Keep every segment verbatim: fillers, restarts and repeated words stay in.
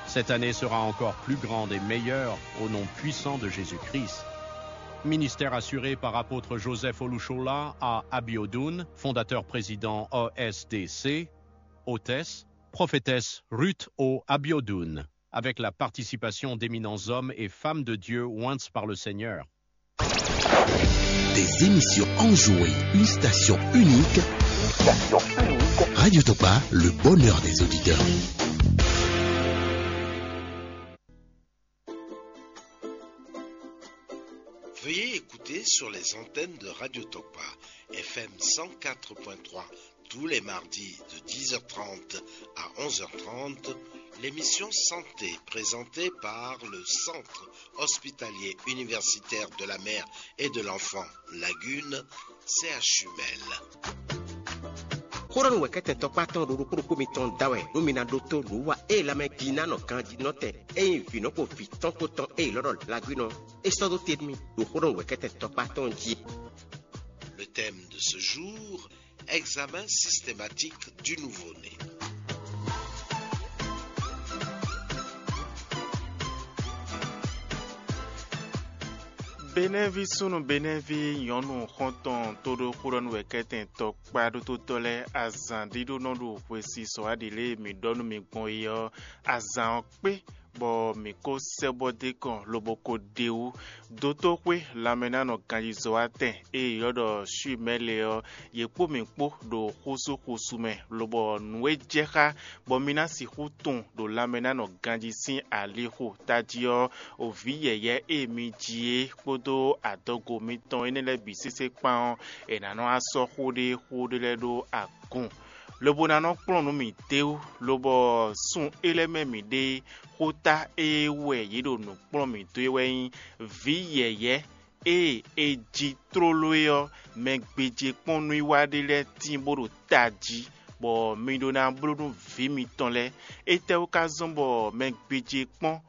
Cette année sera encore plus grande et meilleure au nom puissant de Jésus-Christ. Ministère assuré par apôtre Joseph Olushola à Abiodun, fondateur président O S D C, hôtesse, prophétesse Ruth O Abiodun, avec la participation d'éminents hommes et femmes de Dieu oints par le Seigneur. Des émissions enjouées, une station unique. Une station unique. Radio Topa, le bonheur des auditeurs. Veuillez écouter sur les antennes de Radio Topa, F M cent quatre point trois, tous les mardis de dix heures trente à onze heures trente, l'émission Santé présentée par le Centre hospitalier universitaire de la mère et de l'enfant Lagune, C H U Mel. Xóɖɔnu wɛ̌kɛ́tɛn tɔkpá tɔn ɖo ɖokpó ɖokpó mitɔn da wɛ nú mi ná ɖótó nǔwiwa e lanmɛjínánɔ ganjínɔtɛn e nyí vǐnɔ kpo vǐ tɔn kpó tɔn e è lɔ́ ɖɔ Lagwínɔ é sɔ́ dó te nú mi ɖo xóɖɔnu wɛ̌kɛ́tɛn tɔkpá tɔn jí é. Le thème de ce jour, examen systématique du nouveau-né. Benɛ́ví súnnu Benɛ́ví nyɔ̌nu xɔ́ntɔn tóɖó xóɖɔ́nú wɛ kɛ́tɛn tɔkpá ɖótótɔ́ lɛ́ɛ azǎn ɖíɖó nɔ ɖo hwesisɔ aɖǐ lě e mǐ ɖɔ nú mi gbɔn é ɔ́, azǎn ɔ́ kpé, bɔ mǐ ko sɛ́ bɔ dó kɔn lobo ko ɖe wú. Dotóxwé lanmɛnánɔ ganjizɔ́watɛn e è ylɔ́ ɖɔ Shwimɛ́ lɛ́ɛ ɔ́, yě kpó mǐ kpó ɖo xúsúxúsu mɛ, lobɔ nǔ e jɛ xá bɔ mi ná sixú tunwun ɖo lanmɛnánɔ ganjí sín alixo tají ɔ́, o vǐ yɛ̌yɛ́ e mi ji é kpódó adɔgo mitɔn énɛ́ lɛ́ɛ bǐ sésé kpán ɔ́, è nǎ nɔ́ wá sɔ́ xó ɖé xó ɖé lɛ́ɛ ɖó agun, lobo ná nɔ́ kplɔ́n nǔ mǐ d'é wú, lobɔ sun é lɛ́ɛ mɛ mǐ ɖe xóta e wɛ yě ɖo nǔ kplɔ́n mǐ dó é wɛ nyí vǐ yɛ̌yɛ́ e è ji tlóló é ɔ́, mɛ gbéjé kpɔ́n nú i wá ɖé lɛ́ɛ tíin bó ɖo tají, bɔ mi ɖó ná bló nú vǐ mitɔn lɛ́ɛ. Étɛ́wú ka zɔ́n bɔ mɛ gbéjé kpɔ́n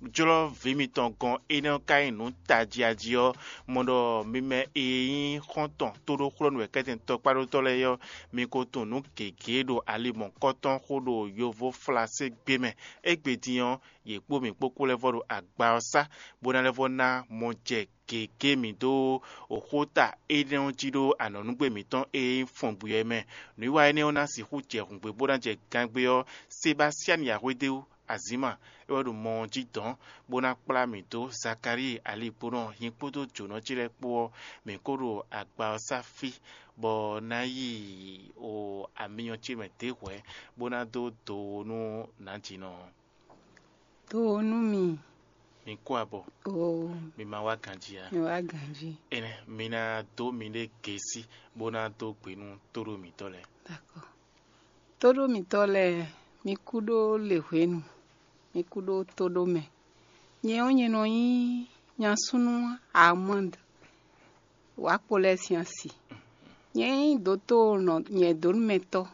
jlɔ́ vǐ mitɔn gɔ́n énɛ́ ɔ́ ka nyí nǔ tají a jí ɔ́, mɔ ɖɔ mi mɛ e nyí xɔ́ntɔn tóɖóxlɔ́nú wɛ̌kɛ́tɛn tɔkpáɖótɔ́ lɛ́ɛ é ɔ́, mi ko tunwun nǔ gěgé ɖo ali mɔ̌kɔtɔn xó ɖo yovóflasé gbé mɛ. Égbé din ɔ́, yě kpó mǐ kpó kú lɛ́ vɔ ɖo agba ɔ́ sá, bó ná lɛ́ vɔ ná mɔ jɛ gěgé mǐ dó xóta énɛ́ ɔ́ jí ɖó anɔ̌núgbé mǐtɔn e nyí fɔngbwi ɔ́ mɛ. Nǔwiwa énɛ́ ɔ́ ná sixú jɛ hǔngbé bó ná jɛ gangbé ɔ́, Sebasiani Yahwédéwu Azǐma é wɛ ɖo mɔ ɔ́ jí dɔ̌n, bó ná kplá mǐ dó Zakalíi aligbónɔ hin kpódó jǒnɔ ce lɛ́ɛ kpó ɔ́, mǐ kó ɖo agba ɔ́ sá fí, bɔ ná yi o amyɔ ce mɛ dě hwɛ̌, bó ná dó do nú nǎjínɔ ɔ́. Do nú mi. Mi kú abɔ. Oo. Mi ma wá ganjí a? Mi wá ganjí. Énɛ́, mi ná dó miɖée gěsí, bó ná dó gbe nú tóɖó mǐtɔn lɛ́ɛ. D'accord. Tóɖó mǐtɔn lɛ́ɛ, mi kú ɖó lěhwenu, mi kú ɖó tóɖó mɛ. Nyɛ ɔ́, nyɛ nɔ nyí nyasúnú Armand Wakpo lɛ́ɛ sín asi. Nyɛ nyí dǒtó nyɛ̌dónúmɛtɔ́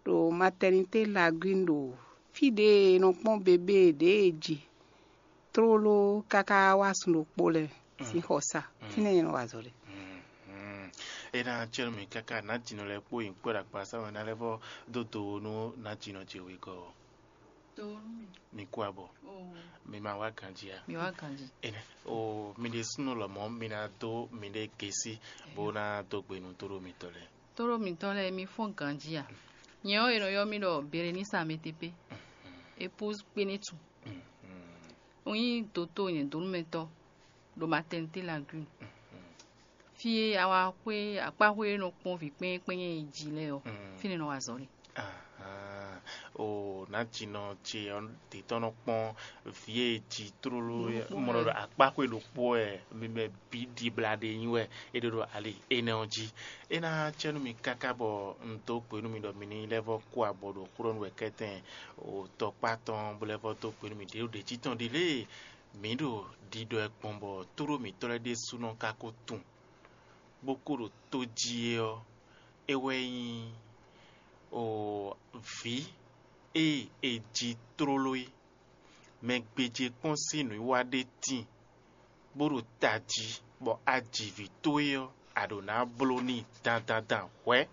ɖo matɛnitě Lagwín ɖo fí ɖě e è nɔ kpɔ́n bebé ɖě e ji tlóló káká wá sun ɖokpó lɛ́ɛ sín xɔsa. Fínɛ́ nyɛ nɔ wa azɔ̌ ɖe. É ná cɛ́ nú mì káká nǎjínɔ lɛ́ɛ kpó nyǐkɔ ɖo akpasá mɛ ná lɛ́ vɔ dó do nú nǎjínɔ ce wegɔ́ ɔ́. Mi kú abɔ. Mi ma wá ganjí a? Mi wá ganjí. Énɛ́, o mi ɖésúnɔ lɔmɔ̌ mi ná dó miɖée gěsí bó ná dó gbe nú tóɖó mitɔn lɛ́ɛ. Tóɖó mitɔn lɛ́ɛ, mi fɔ́n ganjí a? Nyɛ ɔ́, è nɔ ylɔ́ mì ɖɔ Berenísa Ametepe, épouse Kpénétu. Un nyí dǒtó nyɛ̌dónúmɛtɔ́ ɖo matɛnitě Lagune. Fí e awa xwé akpáxwé e nɔ kpɔ́n vǐ kpɛ́nyɛ́kpɛ́nyɛ́ e ji lɛ́ɛ ɔ́, fínɛ́ nɔ wa azɔ̌ ɖe. Ahán. O nǎjínɔ ce ɔ́, ɖě tɔn nɔ kpɔ́n vǐ e ji tlóló mɔ ɖɔ akpáxwé ɖokpó wɛ mi mɛ bǐ ɖibla ɖe nyi wɛ é ɖe ɖo ali énɛ́ ɔ́ jí. É ná cɛ́ nú mi káká bɔ un dó gbe nú mi ɖɔ mi ní lɛ́ vɔ́ kú abɔ ɖo xlɔ́nú wɛ kɛ́tɛn o tɔkpá tɔn bó lɛ́ vɔ́ dó gbe nú mi ɖě ɖo ɖě jí tɔn ɖi lée mǐ ɖo ɖiɖɔ ɛ gbɔn bɔ tóɖó mǐtɔn lɛ́ɛ ɖésúnɔ ka ko tunwun bó kó ɖo tó jí é ɔ́, é wɛ nyí o vǐ e è ji tlóló é. Mɛ gbéjé kpɔ́n sín nǔwiwa ɖé tíin, bó ɖo tají, bɔ a ji vǐ towe ɔ́, a ɖǒ ná bló n'i dandandan hwɛ̌.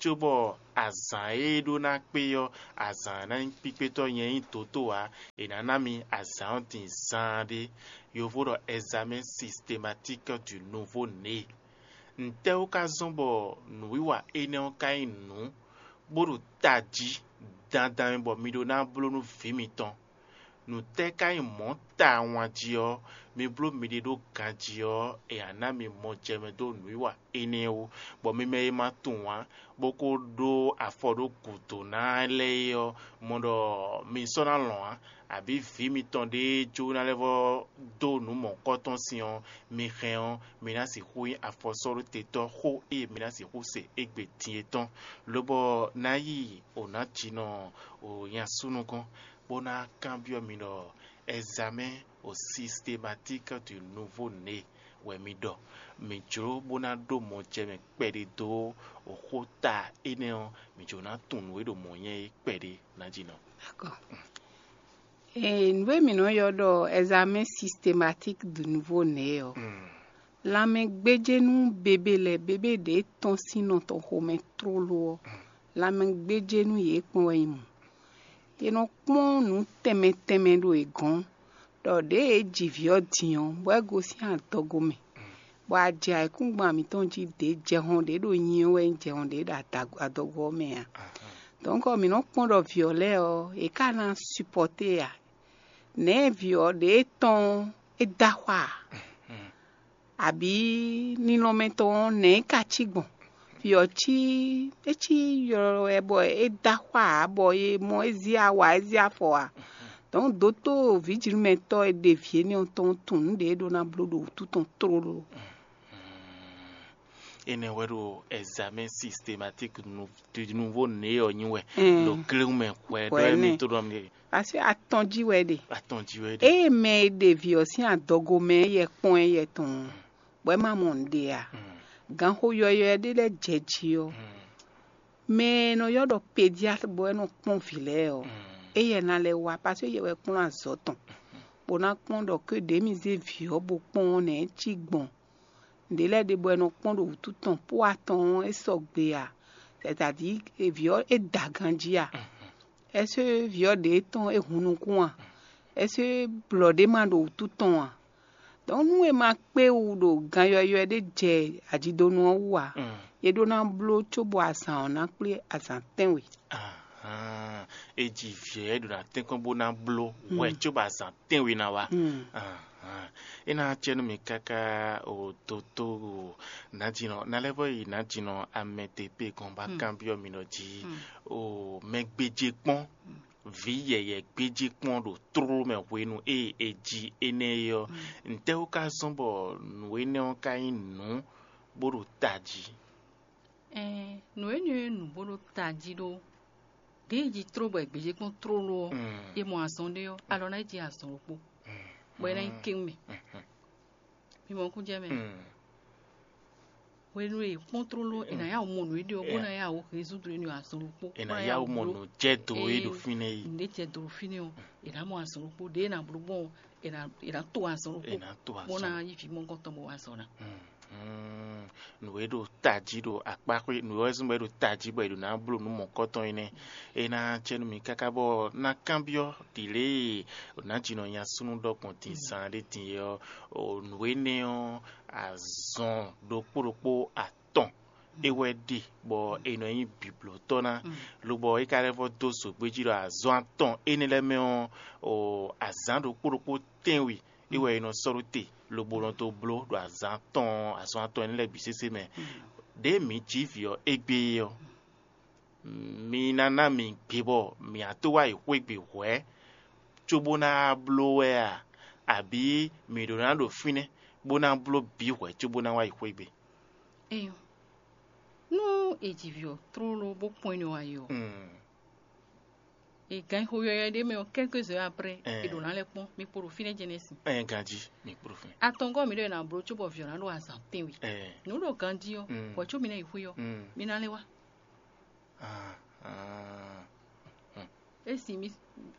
cóbɔ azǎn e ɖó ná kpé ɔ́, azǎn ná nyí kpíkpétɔ́ nyɛ nyí dǒtó ǎ. È nǎ ná mi azǎn ɔ́ din zaanɖé. Yovo ɖɔ examen systématique du nouveau né. Ntɛ́ wú ka zɔ́n bɔ nǔwiwa énɛ́ ɔ́ ka nyí nǔ bó ɖo tají dandan mɛ bɔ mi ɖó ná bló nú vǐ mitɔn? Nǔ tɛ́ ka nyí mɔ̌ tawun jí ɔ́, mi bló miɖée ɖó ganjí ɔ́, è nǎ ná mi mɔjɛmɛ dó nǔwiwa énɛ́ wú, bɔ mi mɛ e ma tunwun ǎ, bó ko ɖó afɔ ɖó gǔdo ná lɛ́ɛ é ɔ́, mɔ ɖɔ mi sɔ́ ná lɔn ǎ, abǐ vǐ mitɔn ɖé jó ná lɛ́ vɔ́ dó nǔ mɔ̌kɔ́tɔn sin ɔ́, mi hɛn ɔ́, mi ná sixú nyí afɔsɔ́ɖótetɔ́ xó e mi ná sixú se égbé din é tɔn, lobɔ ná yi o nǎ jinɔ o nyasúnú gɔ́n, bó ná kanbyɔ́ mi ɖɔ: "Examen au systématique du nouveau né wɛ mi ɖɔ? Mi jló bó ná ɖó mɔjɛmɛ kpɛɖé dó xóta énɛ́ ɔ́, mi jló ná tunwun nǔ e ɖo mɔ̌ nyɛ é kpɛɖé ná jí nɔ." D'accord. Ee, nǔ e mǐ nɔ ylɔ́ ɖɔ examen systématique du nouveau né ɔ́, lanmɛgbéjénú bébé lɛ́ɛ bébé ɖě tɔ́n sín nɔ tɔn xomɛ tlóló ɔ́, lanmɛgbéjénú yě kpɔ́n wɛ nyí mɔ̌. È nɔ kpɔ́n nǔ tɛnmɛ tɛnmɛ ɖo è gɔ́n, ɖɔ ɖěe è ji vǐ ɔ́ din ɔ́, bɔ é gosín adɔgo mɛ, bɔ a jɛ ayǐkúngban mǐtɔn jí ɖě jɛhɔn ɖě ɖo nyi ɔ́ wɛ nyí jɛhɔn ɖě ɖo adɔgo ɔ́ mɛ ǎ. Dɔ̌nkɔ mǐ nɔ kpɔ́n ɖɔ vǐ ɔ́ lɛ́ɛ ɔ́, yě ka ná supɔ́té ǎ. Nɛ̌ vǐ ɔ́ ɖě tɔn ɔ́, é dó axwá ǎ? Abǐ ninɔmɛ tɔn ɔ́, nɛ̌ é ka cí gbɔn? Vǐ ɔ́ cí é cí ylɔ́ wɛ bɔ é dó axwá ǎ, bɔ è mɔ é zí awa, é zí afɔ ǎ. Dɔ̌n dótó vǐjinúmɛtɔ́ e ɖe vǐ énɛ́ ɔ́ tɔn tunwun nǔ ɖě é ɖó ná bló ɖo wǔtu tɔn tlóló. Énɛ́ wɛ ɖo examen systématique du nouveau né ɔ́ nyi wɛ ɖo kléwún mɛ hwɛ ɖɔ émí tó ɖɔ mi Parce que atɔn jí wɛ ɖe. Atɔn jí wɛ ɖe. Eye mɛ e ɖe vǐ ɔ́ sín adɔgo mɛ yɛ kpɔ́n ɛ yɛ tɔn, bɔ é ma mɔ nǔɖé a? Ganxo yɔyɔ́ ɖé lɛ́ɛ jɛ jí ɔ́, mɛ e nɔ ylɔ́ ɖɔ pédiatre bɔ é nɔ kpɔ́n vǐ lɛ́ɛ ɔ́, éyɛ́ ná lɛ́ wá, parce que yɛ wɛ kplɔ́n azɔ̌ tɔn, bó ná kpɔ́n ɖɔ ké ɖě mi zé vǐ ɔ́ bó kpɔ́n ɔ́ nɛ̌ é cí gbɔn. Nǔɖé lɛ́ɛ ɖe bɔ è nɔ kpɔ́n ɖo wǔtu tɔn pó atɔn ɔ́, é sɔgbe a? C'est-à-dire vǐ ɔ́ é da ganjí a? Ɛsé vǐ ɔ́ ɖě tɔn é hun nukún a? Ɛsé blɔ̌ ɖé ma ɖo wǔtu tɔn a? Donc nú è ma kpé wú ɖo gan yɔywɛ ɖé jɛ ajidonu ɔ́ wú a, è ɖó ná bló cóbɔ azǎn ɔ́ ná kplé azǎn tɛ́nwe. Ahán, é ji vǐ ɔ́ é ɖo ná tɛ́nkpɔ́n bó ná bló hwɛ cóbɔ azǎn tɛ́nwe ná wá. Ahán, é ná acɛ nú mì káká o dotó o nǎjínɔ ná lɛ́ vɔ yi nǎjínɔ amɛ te pé gɔn bá kanbyɔ́ mi ɖɔ jí o mɛ gbéjé kpɔ́n vǐ yɛyɛ gbéjé kpɔ́n ɖo tlóló mɛ hwenu e è ji énɛ́ é ɔ́, ntɛ́ wú ka zɔ́n bɔ nǔ énɛ́ ɔ́ ka nyí nǔ bó ɖo tají? Ɛɛ, nǔ énɛ́ e nǔ bó ɖo tají ɖó ɖěe jí tló bɔ è gbějé kpɔ́n tlóló ɔ́, é mɔ azɔn ɖé ɔ́, alɔ ná yi jí azɔn ɖokpó, bɔ é ná nyí kéwún mɛ. Mi mɔ kún jɛ mɛ. Hwenu e è kpɔ́n tlóló, è nǎ yá wǔ mɔ nǔ e ɖe ɔ́, bó ná yá wǔ hɛn zúdu énɛ́ ɔ́ azɔn ɖokpó. È nǎ yá wú mɔ nǔ jɛ do e ɖo fínɛ́ yi. Nǔ ɖé jɛ do ɖo fínɛ́ ɔ́, è nǎ mɔ azɔn ɖokpó, ɖěe è nǎ bló gbɔn ɔ́, è nǎ è nǎ to azɔn ɖokpó, È nǎ to bó azɔn. ná yí vǐ mɔ̌hunkɔtɔn bó wá azɔn ná. Mm, nǔ e ɖo tají ɖo akpá xwé nǔ e wɛ zɔ́n bɔ é ɖo tají bɔ è ɖo ná bló nǔ mɔ̌kɔtɔn é nɛ́. É ná cɛ nú mi káká bɔ ná kanbyɔ́ ɖi lě e nǎjínɔ nya súnnu ɖɔ gbɔn din zan ɖé din é ɔ́, o nǔ énɛ́ ɔ́, azɔn ɖokpó ɖokpó atɔn é wɛ ɖe bɔ è nɔ nyí biblotɔ́ ná, lobɔ é ka lɛ́ vɔ dó zǒgbéjí ɖɔ azɔn atɔn énɛ́ lɛ́ɛ mɛ ɔ́, o azǎn ɖokpó ɖokpó tɛ́nwe é wɛ è nɔ sɔ́ ɖó te, lobo nɔ dó bló ɖo azǎn atɔn azɔn atɔn énɛ́ lɛ́ɛ bǐ sésé mɛ. Ɖěe mǐ jí vǐ ɔ́ égbé é ɔ́, mi ná ná mǐ gbé bɔ mǐ á tó wá yi xwé gbe hwɛ̌, cóbó ná bló wɛ a? Abǐ mǐ ɖó ná ɖo fínɛ́ bó ná bló bǐ hwɛ̌ cóbó ná wá yi xwé gbe? Eyo, nú è ji vǐ ɔ́ tlóló bó kpɔ́n énɛ́ wá yi ɔ́, Mm. è gǎn xo yɔyɔ ɖé mɛ ɔ́, quelques heures après, Eh. È ɖǒ ná lɛ́ kpɔ́n, mi kpo ɖo fínɛ́ jɛnɛsi. Ɛ ganjí mi kpló fún mi. Atɔngɔ́ mi ɖɔ è nǎ bló cóbɔ vǐ ɔ́ ná ɖo azǎn tɛ́nwe. Ɛ. Nǔ ɖo ganjí ɔ́, Mm. hwɛ̌ có mi ná yi xwé ɔ́, Mm. mi ná lɛ́ wá. Ah, ah. É sin mi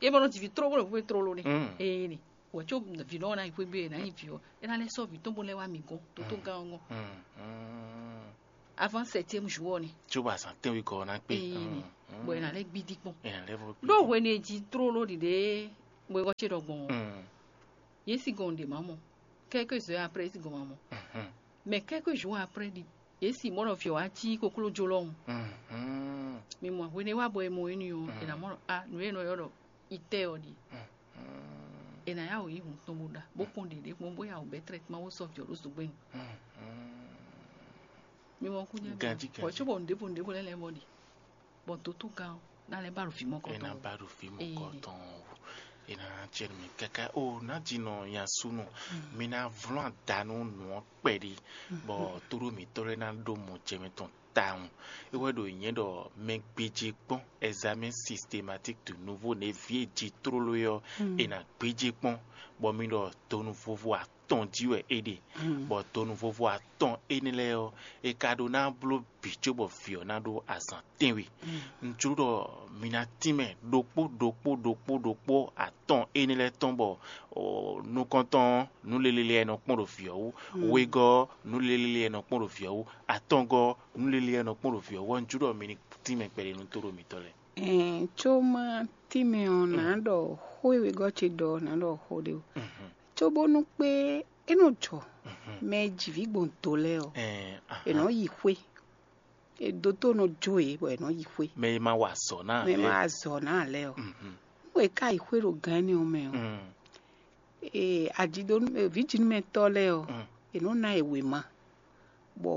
é bɔ nɔ ji vǐ tlóló bó lɛ xwé tlóló nɛ. Mm. Ee nɛ. Hwɛ̌ có vǐ nɔ ɔ́ ná yi xwé gbé, è nǎ nyi vǐ ɔ́, é ná lɛ́ sɔ́ vǐ tɔn bó lɛ́ wá mi gɔ́n, tó tó gán ɔ́ gɔ́n. Mm, mm. Avant septième jour ɔ́ nɛ́. Cóbɔ azǎn tɛ́nwe gɔ́ ɔ́ ná kpé. Ee, bɔ è nǎ lɛ́ gbídí kpɔ́n. È nǎ lɛ́ vɔ gbídí. Ɖó hwenu e jí tlóló ɖiɖe wegɔ́ ce ɖɔ gbɔn ɔ́, yě sí gɔn ɖě ma mɔ. Quelques heures après, yě sí gɔn ma mɔ. Mais quelques jours après, ɖi yě sí mɔ ɖɔ vǐ ɔ́ wá cí koklójó lɔhùn. Mi mɔ hwenu e wá bɔ è mɔ énɛ́ ɔ́, è nǎ mɔ ɖɔ a nǔ e è nɔ ylɔ́ ɖɔ itɛ́ ɔ́ ɖíe. È nǎ yá wǔ yí hun tɔn bó ɖa, bó kpɔ́n ɖěɖé kpɔ́n, bó yá wǔ bɛ́ trɛ́tman bó sɔ́ vǐ ɔ́ ɖó zogbɛ́nu. Mi mɔ kú jɛ Ganjí, bɔ ganjí. Cóbɔ nǔɖévo nǔɖévo lɛ́ɛ lɛ́ɛ mɔ ɖi, bɔ dotúgán ɔ́ ná lɛ́ ba ɖo vǐ mɔ É ná kɔtɔn. Ba ɖo vǐ mɔ Ee. Kɔtɔn o. É ná ná cɛ nú mi káká. O ná ji nɔ nya súnú. Mi ná vlɔ́n ada nú nǔ ɔ́ kpɛɖí, bɔ tóɖó mǐtɔn lɛ́ɛ ná ɖó mɔ jɛ mitɔn tawun. É wɛ ɖo nyɛ ɖɔ mɛ gbéjé kpɔ́n, examen systématique de nouveau nɛví e ji tlóló é ɔ́, è nǎ gbéjé kpɔ́n, bɔ mi ɖɔ donu vovo atɔn jí wɛ é ɖe, bɔ donu vovo atɔn énɛ́ lɛ́ɛ ɔ́, è ka ɖó ná bló bǐ cóbɔ vǐ ɔ́ ná ɖó azǎn tɛ́nwe. Un jló ɖɔ mi ná tínmɛ ɖokpó ɖokpó ɖokpó ɖokpó atɔn énɛ́ lɛ́ɛ tɔn bɔ o, nukɔntɔn ɔ́, nǔ lélelé e nɔ kpɔ́n ɖo vǐ ɔ́ wú, wegɔ́ ɔ́, nǔ lélelé e nɔ kpɔ́n ɖo vǐ ɔ́ wú, atɔngɔ́ ɔ́, nǔ lélelé e nɔ kpɔ́n ɖo vǐ ɔ́ wú, ɔ́, un jló ɖɔ mi ní tínmɛ kpɛɖé nú tóɖó mitɔ́ lɛ́ɛ. Ɛn, có má tínmɛ ɔ́, nǎ ɖɔ xó e wegɔ́ ce ɖɔ ɔ́, nǎ ɖɔ xó ɖé o. Cóbónú kpé é nɔ jɔ mɛ e ji vǐ gbɔn do lɛ́ɛ ɔ́, Ɛn, aha. È nɔ yi xwé. E dotó nɔ jó yě bɔ è nɔ yi xwé. Mɛ e ma wa azɔ̌ ná Mɛ e ma lɛ́ɛ. Azɔ̌ ná lɛ́ɛ ɔ́. Mhm. Nú è ka yi xwé ɖo gǎn énɛ́ ɔ́ mɛ ɔ́, Mm. ee ajidonu vǐjinúmɛtɔ́ lɛ́ɛ ɔ́, Mm. È nɔ ná yě wěma, bɔ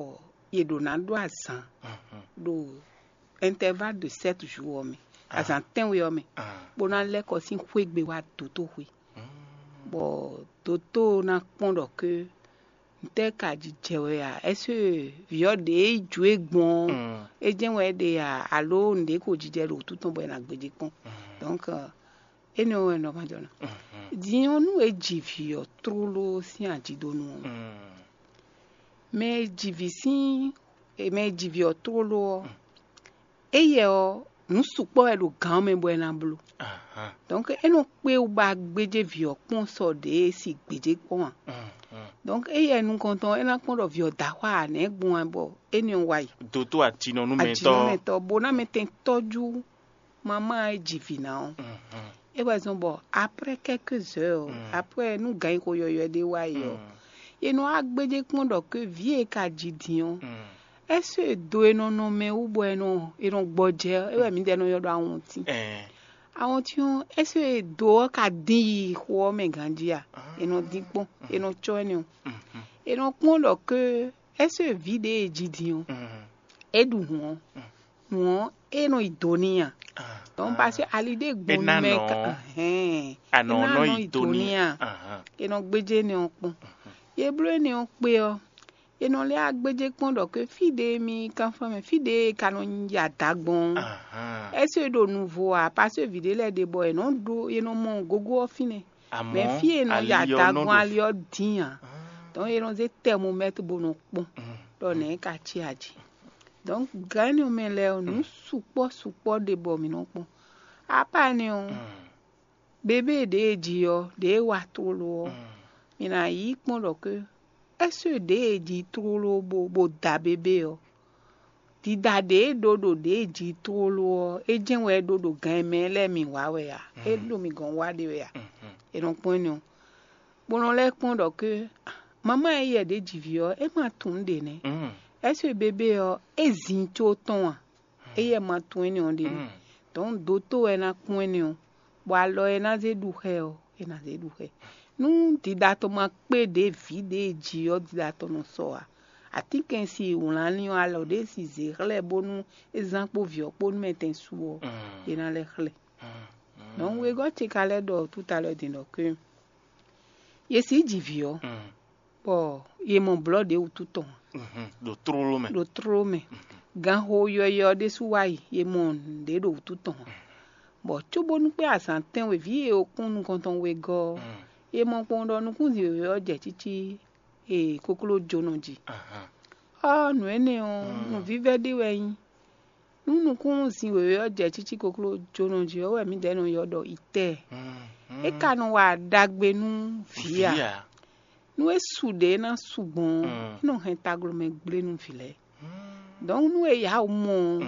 yě ɖo ná ɖó azǎn Mhm. ɖo intervalle de sept jours ɔ́ mɛ, Ah. Azǎn tɛ́nwe ɔ́ mɛ, Ah. Bó ná lɛ́ kɔ sín xwé gbe wá dotó xwé. Mm. Bɔ dotó ná kpɔ́n ɖɔ ké ntɛ́ ka jijɛ wɛ a? Ɛ́sé vǐ ɔ́ ɖě ju é gbɔn ɔ́, Mm. É jɛ́n wɛ é ɖe a? Alo nǔɖé ko jijɛ ɖo wútu tɔn bɔ è nǎ gbéjé kpɔ́n? Mm. Donc, énɛ́ ɔ́ wɛ nɔ ma jɔ ná. Mhm. Din ɔ́, nú è ji vǐ ɔ́ tlóló sín ajidonu ɔ́, Mm. Mɛ e ji vǐ sín mɛ e ji vǐ ɔ́ tlóló ɔ́, éyɛ ɔ́, nǔ sukpɔ́ wɛ ɖo gǎn ɔ́ mɛ bɔ é ná bló. Ahan. Donc é nɔ kpé wú ba gbéjé vǐ ɔ́ kpɔ́n sɔ ɖě e si gbějé kpɔ́n ǎ. Mm, mm. Donc éyɛ nukɔntɔn é ná kpɔ́n ɖɔ vǐ ɔ́ da xwá ǎ nɛ̌ gbɔn wɛ bɔ énɛ́ ɔ́ wá yi. Dotó atinɔnúmɛtɔ́. Ajinɔmɛtɔ́ bó ná mɛ tɛn tɔ́jú mamá e ji vǐ ná ɔ́. Mhm. É wɛ zɔ́n bɔ après quelques heures, Mm. Après nú gǎn yi xo yɔyɔɛ ɖé wá yi ɔ́, Mm. È nɔ wá gbéjé kpɔ́n ɖɔ ké vǐ e ka ji din ɔ́, Mm. Ɛ́ sɔ́ e do e nɔ nɔ mɛ wú bɔ è nɔ è nɔ gbɔjɛ ɔ́, é wɛ mǐdɛɛ nɔ ylɔ́ ɖɔ awɔntín. Ɛɛ. Awɔntín ɔ́, ɛ́ sɔ́ e do ɔ́ ka dín yi xo ɔ́ mɛ ganjí a? È nɔ dín kpɔ́n, è nɔ cɔ́ énɛ́ ɔ́. Mhm. È nɔ kpɔ́n ɖɔ ké ɛ́ sɔ́ e vǐ ɖě e ji din ɔ́, Mhm. É ɖu hǔn ɔ́, hǔn ɔ́, é nɔ yi do n'i a? Ah, Donc ah. Parce que ali ɖé É gbɔn ná nú mɛ nɔ ka hɛn. Anɔ É ná nɔ nɔ yi yi do do n'i n'i a? Ahan. É nɔ gbéjé énɛ́ ɔ́ kpɔ́n. Yě bló énɛ́ ɔ́ kpé ɔ́, è nɔ lɛ́ wá gbéjé kpɔ́n ɖɔ ké fí ɖé mi kanfán mɛ, fí ɖé e ka nɔ yi ada gbɔn ɔ́, Ahan. Ɛ́ sɔ́ é ɖo nuvo a? Parce que vǐ ɖé lɛ́ɛ ɖe bɔ è nɔ ɖó è nɔ mɔ gogo ɔ́ fínɛ́. Mɛ Amɔ̌ fí e nɔ yi ali ɔ́ ada nɔ gbɔn ɖo ali ɔ́ dín ǎ. Ah. Donc è nɔ zé thermomètre bó nɔ kpɔ́n Mm. Ɖɔ nɛ̌ é ka cí aji. Donc gǎn énɛ́ ɔ́ mɛ lɛ́ɛ ɔ́, nǔ sukpɔ́ sukpɔ́ ɖe bɔ mǐ nɔ kpɔ́n. Apa énɛ́ ɔ́, Mm. Bébé ɖě e ji ɔ́, ɖě e wa tlóló ɔ́, Mm. Mǐ ná yí kpɔ́n ɖɔ ké ɛ́ sɔ́ ɖě e ji tlóló bó bó da bébé ɔ́, dida ɖě e ɖó ɖo ɖě e ji tlóló ɔ́, é jɛ́n wɛ é ɖó ɖo gǎn e mɛ lɛ́ɛ mi wǎ wɛ a? É ɖo mi gɔ̌n wa ɖe wɛ a? Mhm. È nɔ kpɔ́n énɛ́ ɔ́, bó nɔ lɛ́ kpɔ́n ɖɔ ké mamá e yɛ ɖě ji vǐ ɔ́, é ma tunwun ɖě nɛ́. Mm. Ɛ́ sɔ́ bébé ɔ́, é zin có tɔn a? Éyɛ́ ma tunwun énɛ́ ɔ́ ɖe nɛ́. Mm. Donc dotó wɛ ná kpɔ́n énɛ́ ɔ́, bɔ alɔ e ná zé ɖu xɛ ɔ́, é ná zé ɖu xɛ. Nú dida tɔn ma kpé ɖě vǐ ɖě e ji ɔ́ dida tɔn nɔ sɔ ǎ, atínkɛnsi e wlán ní ɔ́ alɔ ɖě si zě xlɛ́ bónú é zán kpó vǐ ɔ́ kpó nú mɛ tɛn su ɔ́, Mm. É ná lɛ́ xlɛ́. Mm. Donc wegɔ́ ce ka lɛ́ ɖɔ tout à l'heure din ɖɔ ké yě si ji vǐ ɔ́, Mm. Bɔ yě mɔ blɔ̌ ɖě wútu tɔn Mhm. Ɖo tlóló mɛ. Ɖo tlóló mɛ. Ganxo yɔyɔ ɖésú wá yi, yě mɔ nǔɖé ɖo wútu tɔn. Bɔ cóbónú kpé azǎn tɛ́nwe vǐ e wokpɔ́n nukɔn tɔn wegɔ́ ɔ́, yě mɔ kpɔ́n ɖɔ nukúnzin wěwé ɔ́ jɛ cící e koklójónɔ jí. Ahan. Ɔ́, nǔ énɛ́ ɔ́, nǔvívɛ́ ɖé wɛ é nyí. Nú nukúnzin wěwé ɔ́ jɛ cící koklójónɔ jí ɔ́, wɛ mǐdɛɛ nɔ ylɔ́ ɖɔ itɛ́ɛ. Mm, É ka nɔ wa ɖagbe nú vǐ a? Vǐ a? Nú é su ɖě é ná su gbɔn ɔ́, Mm. É nɔ hɛn taglomɛ gblé nú vǐ lɛ́ɛ. Mm. Donc nú e yǎ wǔ mɔ ɔ́,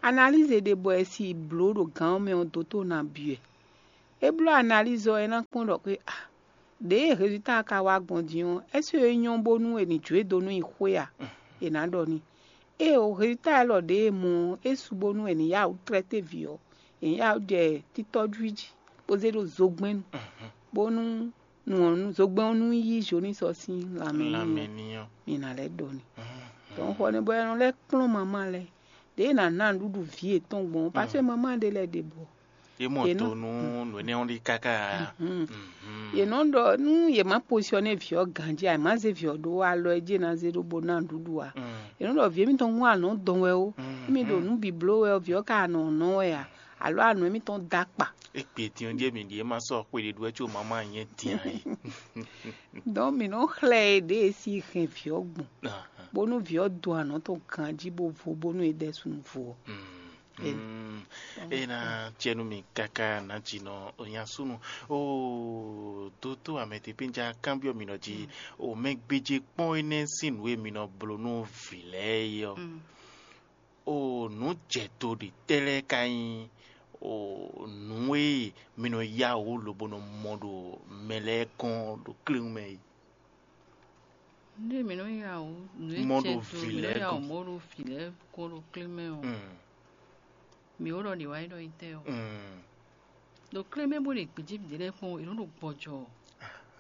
analyse ɖé bɔ è si blǒ ɖo gǎn ɔ́ mɛ ɔ́ dó tó ná byɔ́ ɛ. É bló analyse ɔ́, é ná kpɔ́n ɖɔ xwé a ɖěe résultat ka wá gbɔn din ɔ́, ɛ́ sɔ́ é nyɔ́ bónú è nǐ jó e dó nú i xwé a? È nǎ ɖɔ n'i. Ée o résultat élɔ́ ɖě e mɔ ɔ́, é su bónú è nǐ yá wǔ tlɛ́té vǐ ɔ́, è nǐ yá wǔ jɛ títɔ́jú jí, bó zé ɖo zogbɛ́n nu, bónú nǔ ɔ́ nú zogbɛ́n ɔ́ nú yí Zonisɔ sín lanmɛ n'i ɔ́, mi ná lɛ́ ɖɔ n'i. Donc xɔ nɛ́ bɔ è nɔ lɛ́ kplɔ́n mamá lɛ́ɛ, ɖěe è nǎ ná nǔɖuɖu vǐ yětɔn gbɔn ɔ́, parce que mamá ɖé lɛ́ɛ ɖe bɔ é mɔ Yě nɔ- to nú nǔ énɛ́ ɔ́ ɖi káká ǎ. Yě nɔ ɖɔ nú yě má posiɔ́nɛ́ vǐ ɔ́ ganjí ǎ, è má zé vǐ ɔ́ ɖó alɔ e jí è nǎ zé ɖó bó ná nǔɖuɖu ǎ. Yě nɔ ɖɔ vǐ émítɔn hún anɔ̌ dɔn wɛ ó, émí ɖo nǔ bǐ bló wɛ ɔ́, vǐ ɔ́ ka anɔ nɔ́ wɛ ǎ, alǒ anɔ émítɔn dó akpa. É kpe din ɔ́ ɖíe mǐ ɖíe ma sɔ́ xwe ɖé ɖu wɛ có mamá nyɛ din ǎ é. Donc mǐ nɔ xlɛ́ e ɖě e sí hɛn vǐ ɔ́ gbɔn, bónú vǐ ɔ́ dó anɔ̌ tɔn ganjí bó vo bónú é ɖɛ́ súnnu vo ɔ́. Mm. É ná cɛ nú mi káká nǎjínɔ nyasúnu. Oo, dótó amɛtepénjá kanbyɔ́ mi nɔ jí, o mɛ gbéjé kpɔ́n énɛ́ sín nǔ e mi nɔ bló nú vǐ lɛ́ɛ é ɔ́, o nǔ jɛ do ɖě tɛ́ lɛ́ɛ ka nyí o nǔ e mi nɔ yá wǔ lobo nɔ mɔ ɖo mɛ lɛ́ɛ gɔ́n ɖo kléwún mɛ é? Nú mǐ nɔ ya wǔ, nǔ e Mɔ jɛ ɖo do vǐ mǐ nɔ lɛ́ɛ ya wǔ gɔ́n. Mɔ ɖo vǐ lɛ́ɛ gɔ́n ɖo klé mɛ ɔ́, Mm, mǐ ó ɖɔ ɖě wá yi ɖɔ nyí tɛ́ ɔ́. Mm. Ɖo klé mɛ bó ɖe gbějé vǐ lɛ́ɛ kpɔ́n, è nɔ ɖo gbɔjɔ.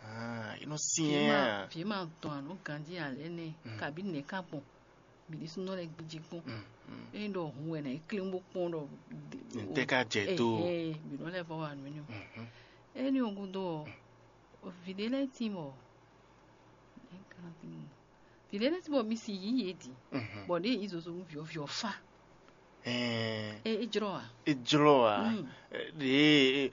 Ah, é nɔ Vǐ syɛ́n ma, à. Vǐ ma dɔn anǔ ganjí ǎ lɛ́ɛ nɛ́, Mm. Kabí nɛ̌ ká gbɔn? Mǐ ɖésúnɔ lɛ́ɛ gbéjé kpɔ́n. Mm, mm. Ényí ɖɔ hun wɛ nǎ yi klé bó kpɔ́n ɖɔ Ntɛ́ ká jɛ tó? Ɛhɛn, mǐ nɔ lɛ́ vɔ wa nǔ énɛ́. Mhm. Énɛ́ ɔ́ gúdo ɔ́, vǐ ɖé lɛ́ɛ tín bɔ vǐ ɖé lɛ́ɛ tín bɔ mi si yǐ yě dǐ, Mhm. Bɔ ɖě yě zozo nú vǐ ɔ́, vǐ ɔ́ fá. Ɛɛ, É é jlɔ́ a? É jlɔ́ a? Mm. Ɖě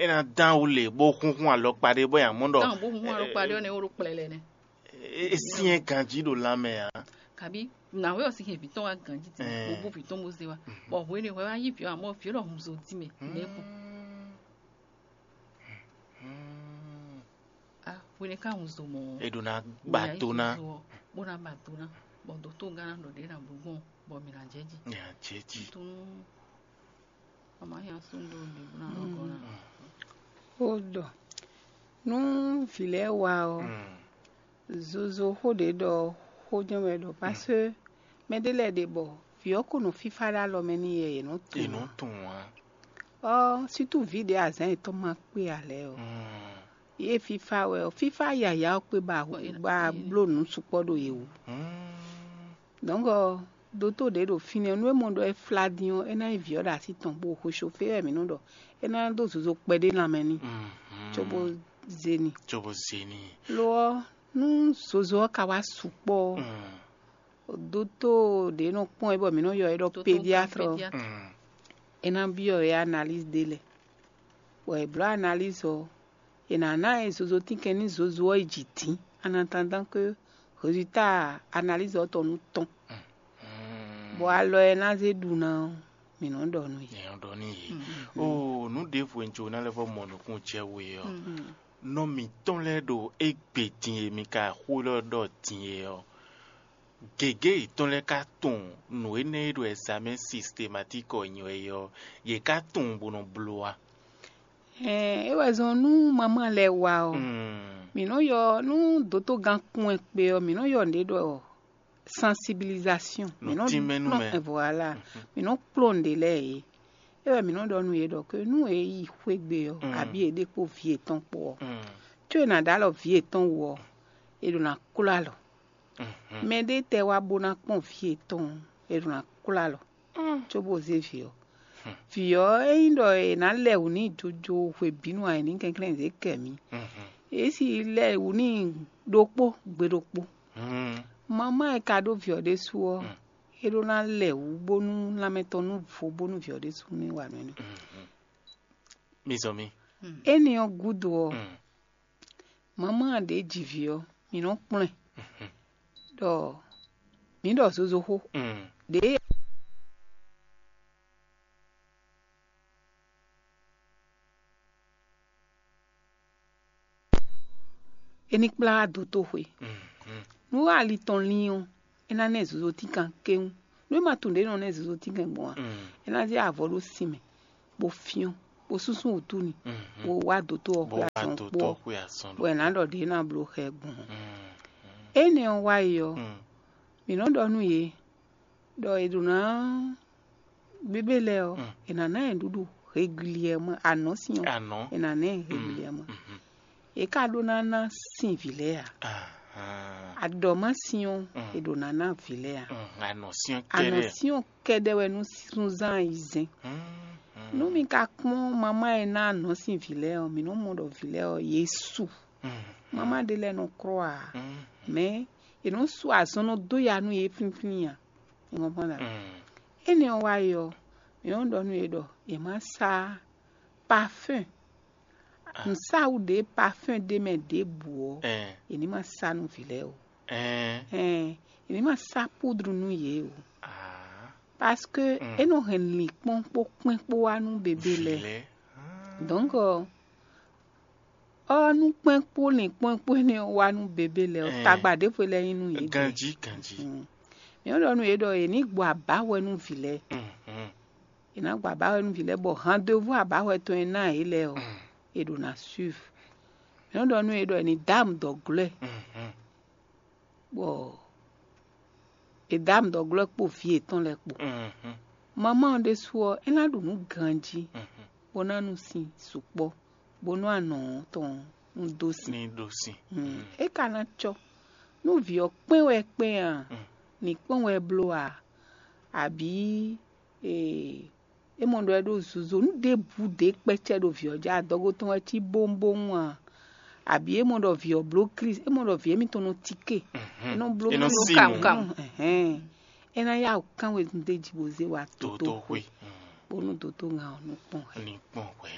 é ná dán wú lě bó xúnxún alɔkpa ɖé bó nya mɔ ɖɔ Dán bó hun alɔkpa ɖé ɔ́ nɛ ó ɖo kplɛlɛ nɛ. É é syɛ́n ganjí ɖo lanmɛ ǎ. Kabi nǎwe ɔ́ sín hɛn vǐ tɔn wá ganjí tɛ́ Ɛɛ. Bó bú vǐ tɔn bó zé wá. Bɔ hwenu e hwɛ wá yí vǐ ɔ́, amɔ̌ vǐ ɔ́ ɖɔ hun zo dí mɛ nɛ́ kpɔ́n. Mm. Mm. A hwenu e ká hun zo mɔ̌ ɔ́, È ɖǒ ná gbà tó ná. Bó ná ba do ná, bɔ dǒtó gán ná ɖɔ ɖě ná bló gbɔn, bɔ mǐ ná jɛ jí. Mǐ ná jɛ jí. Tó nú mama nya sún ɖó ɖě bó ná nɔ gɔ́ ná. Ó ɖɔ nú vǐ lɛ́ɛ wa ɔ́, Mm. Zozo xó ɖě ɖɔ xó jɛ́n wɛ ɖɔ, parce que mɛ ɖé lɛ́ɛ ɖe bɔ vǐ ɔ́ ko nɔ fífá ɖó alɔ mɛ n'i yɛ yě nɔ È tunwun nɔ ǎ. Tunwun ǎ. Ɔ́, sútú vǐ ɖě azǎn yětɔn ma kpé ǎ lɛ́ɛ ɔ́, Mm. Yě fífá wɛ ɔ́, fífá yǎyá ɔ́ kpé ba Kpé ba yě- bló nǔ sukpɔ́ ɖo yě wú. Mm. Donc ɔ́, dótó ɖě ɖo fínɛ́ nú é mɔ ɖɔ é flá dín ɔ́, é ná nyí vǐ ɔ́ ɖo así tɔn bó xwé sofé wɛ mǐ nɔ ɖɔ é ná dó zozo kpɛɖé lanmɛ n'i, Mhm. Cóbó zé n'i. Cóbó zé n'i. Lo ɔ́, nú zozo ɔ́ ka wá sukpɔ́ ɔ́, Mm. Dótó ɖě nɔ kpɔ́n ɛ bɔ mǐ nɔ ylɔ́ ɛ ɖɔ Dótó pédiatre ɔ́, pédiatre. Mm. É ná byɔ́ ɛ analyse ɖé lɛ́ɛ. Bɔ è blǒ analyse ɔ́, è nǎ ná ɛ zozo tínkɛn nú zozo ɔ́ yi jǐ dín, en attendant que résultat analyse ɔ́ tɔn nú tɔ́n. Mm. Bɔ alɔ e ná zé ɖu ná ɔ́, mǐ nɔ ɖɔ nú yě. Nyɛ ɖɔ n'i yě. Mm. Oo, nǔ ɖěvo e un jló ná lɛ́ vɔ́ mɔ nukúnnú jɛ we ɔ́, Mm. Nɔ mǐtɔn lɛ́ɛ ɖo égbé din e mi ka xó élɔ́ ɖɔ din é ɔ́, gěgé yětɔn lɛ́ɛ ka tunwun nǔ énɛ́ e ɖo ɛzamɛ́n sistematiki ɔ́ nyi wɛ é ɔ́, yě ka tunwun bó nɔ bló a? Ɛɛ, é wɛ zɔn nú mamá lɛ́ɛ wa ɔ́, Mm. Mǐ nɔ ylɔ́ nú dótógán kún ɛ kpé ɔ́, mǐ nɔ ylɔ́ nǔɖé ɖɔ sensibilisation. Nǔ Mǐ nɔ tínmɛ nú mɛ. Voilà. Mhm. Mǐ nɔ kplɔ́n nǔɖé lɛ́ɛ yě. É wɛ mǐ nɔ ɖɔ nú yě ɖɔ ke nú è yi xwé gbe ɔ́, Mm. Abǐ è ɖe kpó vǐ yětɔn kpó ɔ́, Mm. Có è nǎ ɖó alɔ vǐ yětɔn wú ɔ́, è ɖo ná klɔ́ alɔ. Mhm. Mɛ ɖé tɛ wá bó ná kpɔ́n vǐ yětɔn ɔ́, è ɖo ná klɔ́ alɔ. Mm. Cóbó zé vǐ ɔ́. Hmm. Vǐ ɔ́, ényí ɖɔ è nǎ lɛ wǔ n'i jojo hwebǐnu ǎ, è nǐ kɛnklɛ́n zě kɛ mǐ. Mhm. È si lɛ wǔ n'i ɖokpó gbe ɖokpó. Mhm. Mamá e ka ɖó vǐ ɔ́ ɖésú ɔ́, Hmm. É ɖó ná lɛ wǔ bónú lanmɛ tɔn nú vo bónú vǐ ɔ́ ɖésú ní wa nǔ énɛ́. Mhm. Mi zɔn mi. Énɛ́ ɔ́ gúdo ɔ́, Hmm. Mamá ɖě ji vǐ ɔ́, mǐ nɔ́ kplɔ́n ɛ ɖɔ mǐ ɖɔ zozo xó. Mm. Ɖěe é ní kplá wá dotóxwé. Mm, mm. Nú ali tɔn lín ɔ́, é ná ná ɛ zozo tínkan kéwún. Nú é ma tunwun ɖě nɔ ná ɛ zozo tínkan gbɔn ǎ, é ná zé avɔ ɖó sin mɛ, bó fyɔ́n, bó súnsún wǔtú ni, bó wá dotó ɔ́ xwé azɔn kpó, bɔ è nǎ ɖɔ ɖě ná bló xɛ gbɔn. Énɛ́ ɔ́ wá yi ɔ́, mǐ nɔ́ ɖɔ nú yě ɖɔ è ɖǒ ná bébé lɛ́ɛ ɔ́, è nǎ ná ɛ nǔɖuɖu hegwiliyɛmɔ, anɔ̌ sin ɔ́, è nǎ ná ɛ hegwiliyɛmɔ. È ka ɖó ná ná sin vǐ lɛ́ɛ ǎ. Aɖɔ̌másin ɔ́, è ɖǒ ná ná vǐ lɛ́ɛ ǎ. Anɔ̌sin ɔ́ kɛ́ɖɛ́ wɛ nú súnzán ayizɛ́n. Nú mi ka kpɔ́n mamá e ná anɔ̌sin vǐ lɛ́ɛ ɔ́, mǐ nɔ́ mɔ ɖɔ vǐ lɛ́ɛ ɔ́, yě su. Mamá ɖé lɛ́ɛ nɔ klɔ́ ǎ, mɛ̌ è nɔ́ sú azɔn nɔ dó ya nú yě flínflín ǎ. Énɛ́ ɔ́ wá yi ɔ́, mǐ nɔ́ ɖɔ nú yě ɖɔ yě má sá parfɛ́n. Nǔsáwǔ ɖě parfɛ́n ɖé mɛ ɖěbǔ ɔ́, è ní ma sá nú vǐ lɛ́ɛ ó. Ɛn, è ní ma sá púdru nú yě ó. Parce que é nɔ hɛn lǐnkpɔ́n kpó kpɛ́n kpó wá nú bebé lɛ́ɛ. Donc, ɔ́ nú kpɛ́n kpó lǐnkpɔ́n kpó énɛ́ wá nú bebé lɛ́ɛ ɔ́, tagba ɖěvo lɛ́ɛ nyí nú yě. Ganjí, ganjí. Mǐ nɔ́ ɖɔ nú yě ɖɔ yě ní gbɔ abǎhwɛ nú vǐ lɛ́ɛ. Yě ná gbɔ abǎhwɛ nú vǐ lɛ́ɛ, bɔ handevú abǎhwɛ tɔn e ná yě lɛ́ɛ ɔ́, è ɖǒ ná suiv. Mǐ nɔ́ ɖɔ nú yě ɖɔ è ní dó amǔ dɔ̌ glɔ́ ɛ, bɔ è dó amǔ dɔ́ glɔ́ ɛ kpó vǐ yětɔn lɛ́ɛ kpó. Mamá ɔ́ ɖésú ɔ́, é ná ɖu nǔ ganjí, bó ná nu sin sukpɔ́, bónú anɔ̌ tɔn un dó sin. Ní ɖó sin. É ka ná cɔ́. Nú vǐ ɔ́ kpɛ́n wɛ kpɛ́n a, ní kpɔ́n wɛ bló a, abǐ é mɔ ɖɔ é ɖó zozo nú ɖěbǔ ɖě kpɛ́cɛ́ ɖo vǐ ɔ́ jí, adɔgo tɔn wɛ cí bóŋbóŋ a, abǐ é mɔ ɖɔ vǐ ɔ́ bló Klísu, é mɔ ɖɔ vǐ émítɔn nɔ tíke, é nɔ bló Klísu kamukam. É ná yá wǔ kán wezun d'é jí bó zé wá dotóxwé, bónú dotó ŋa ɔ́ nú kpɔ́n hwɛ. Ní kpɔ́n hwɛ.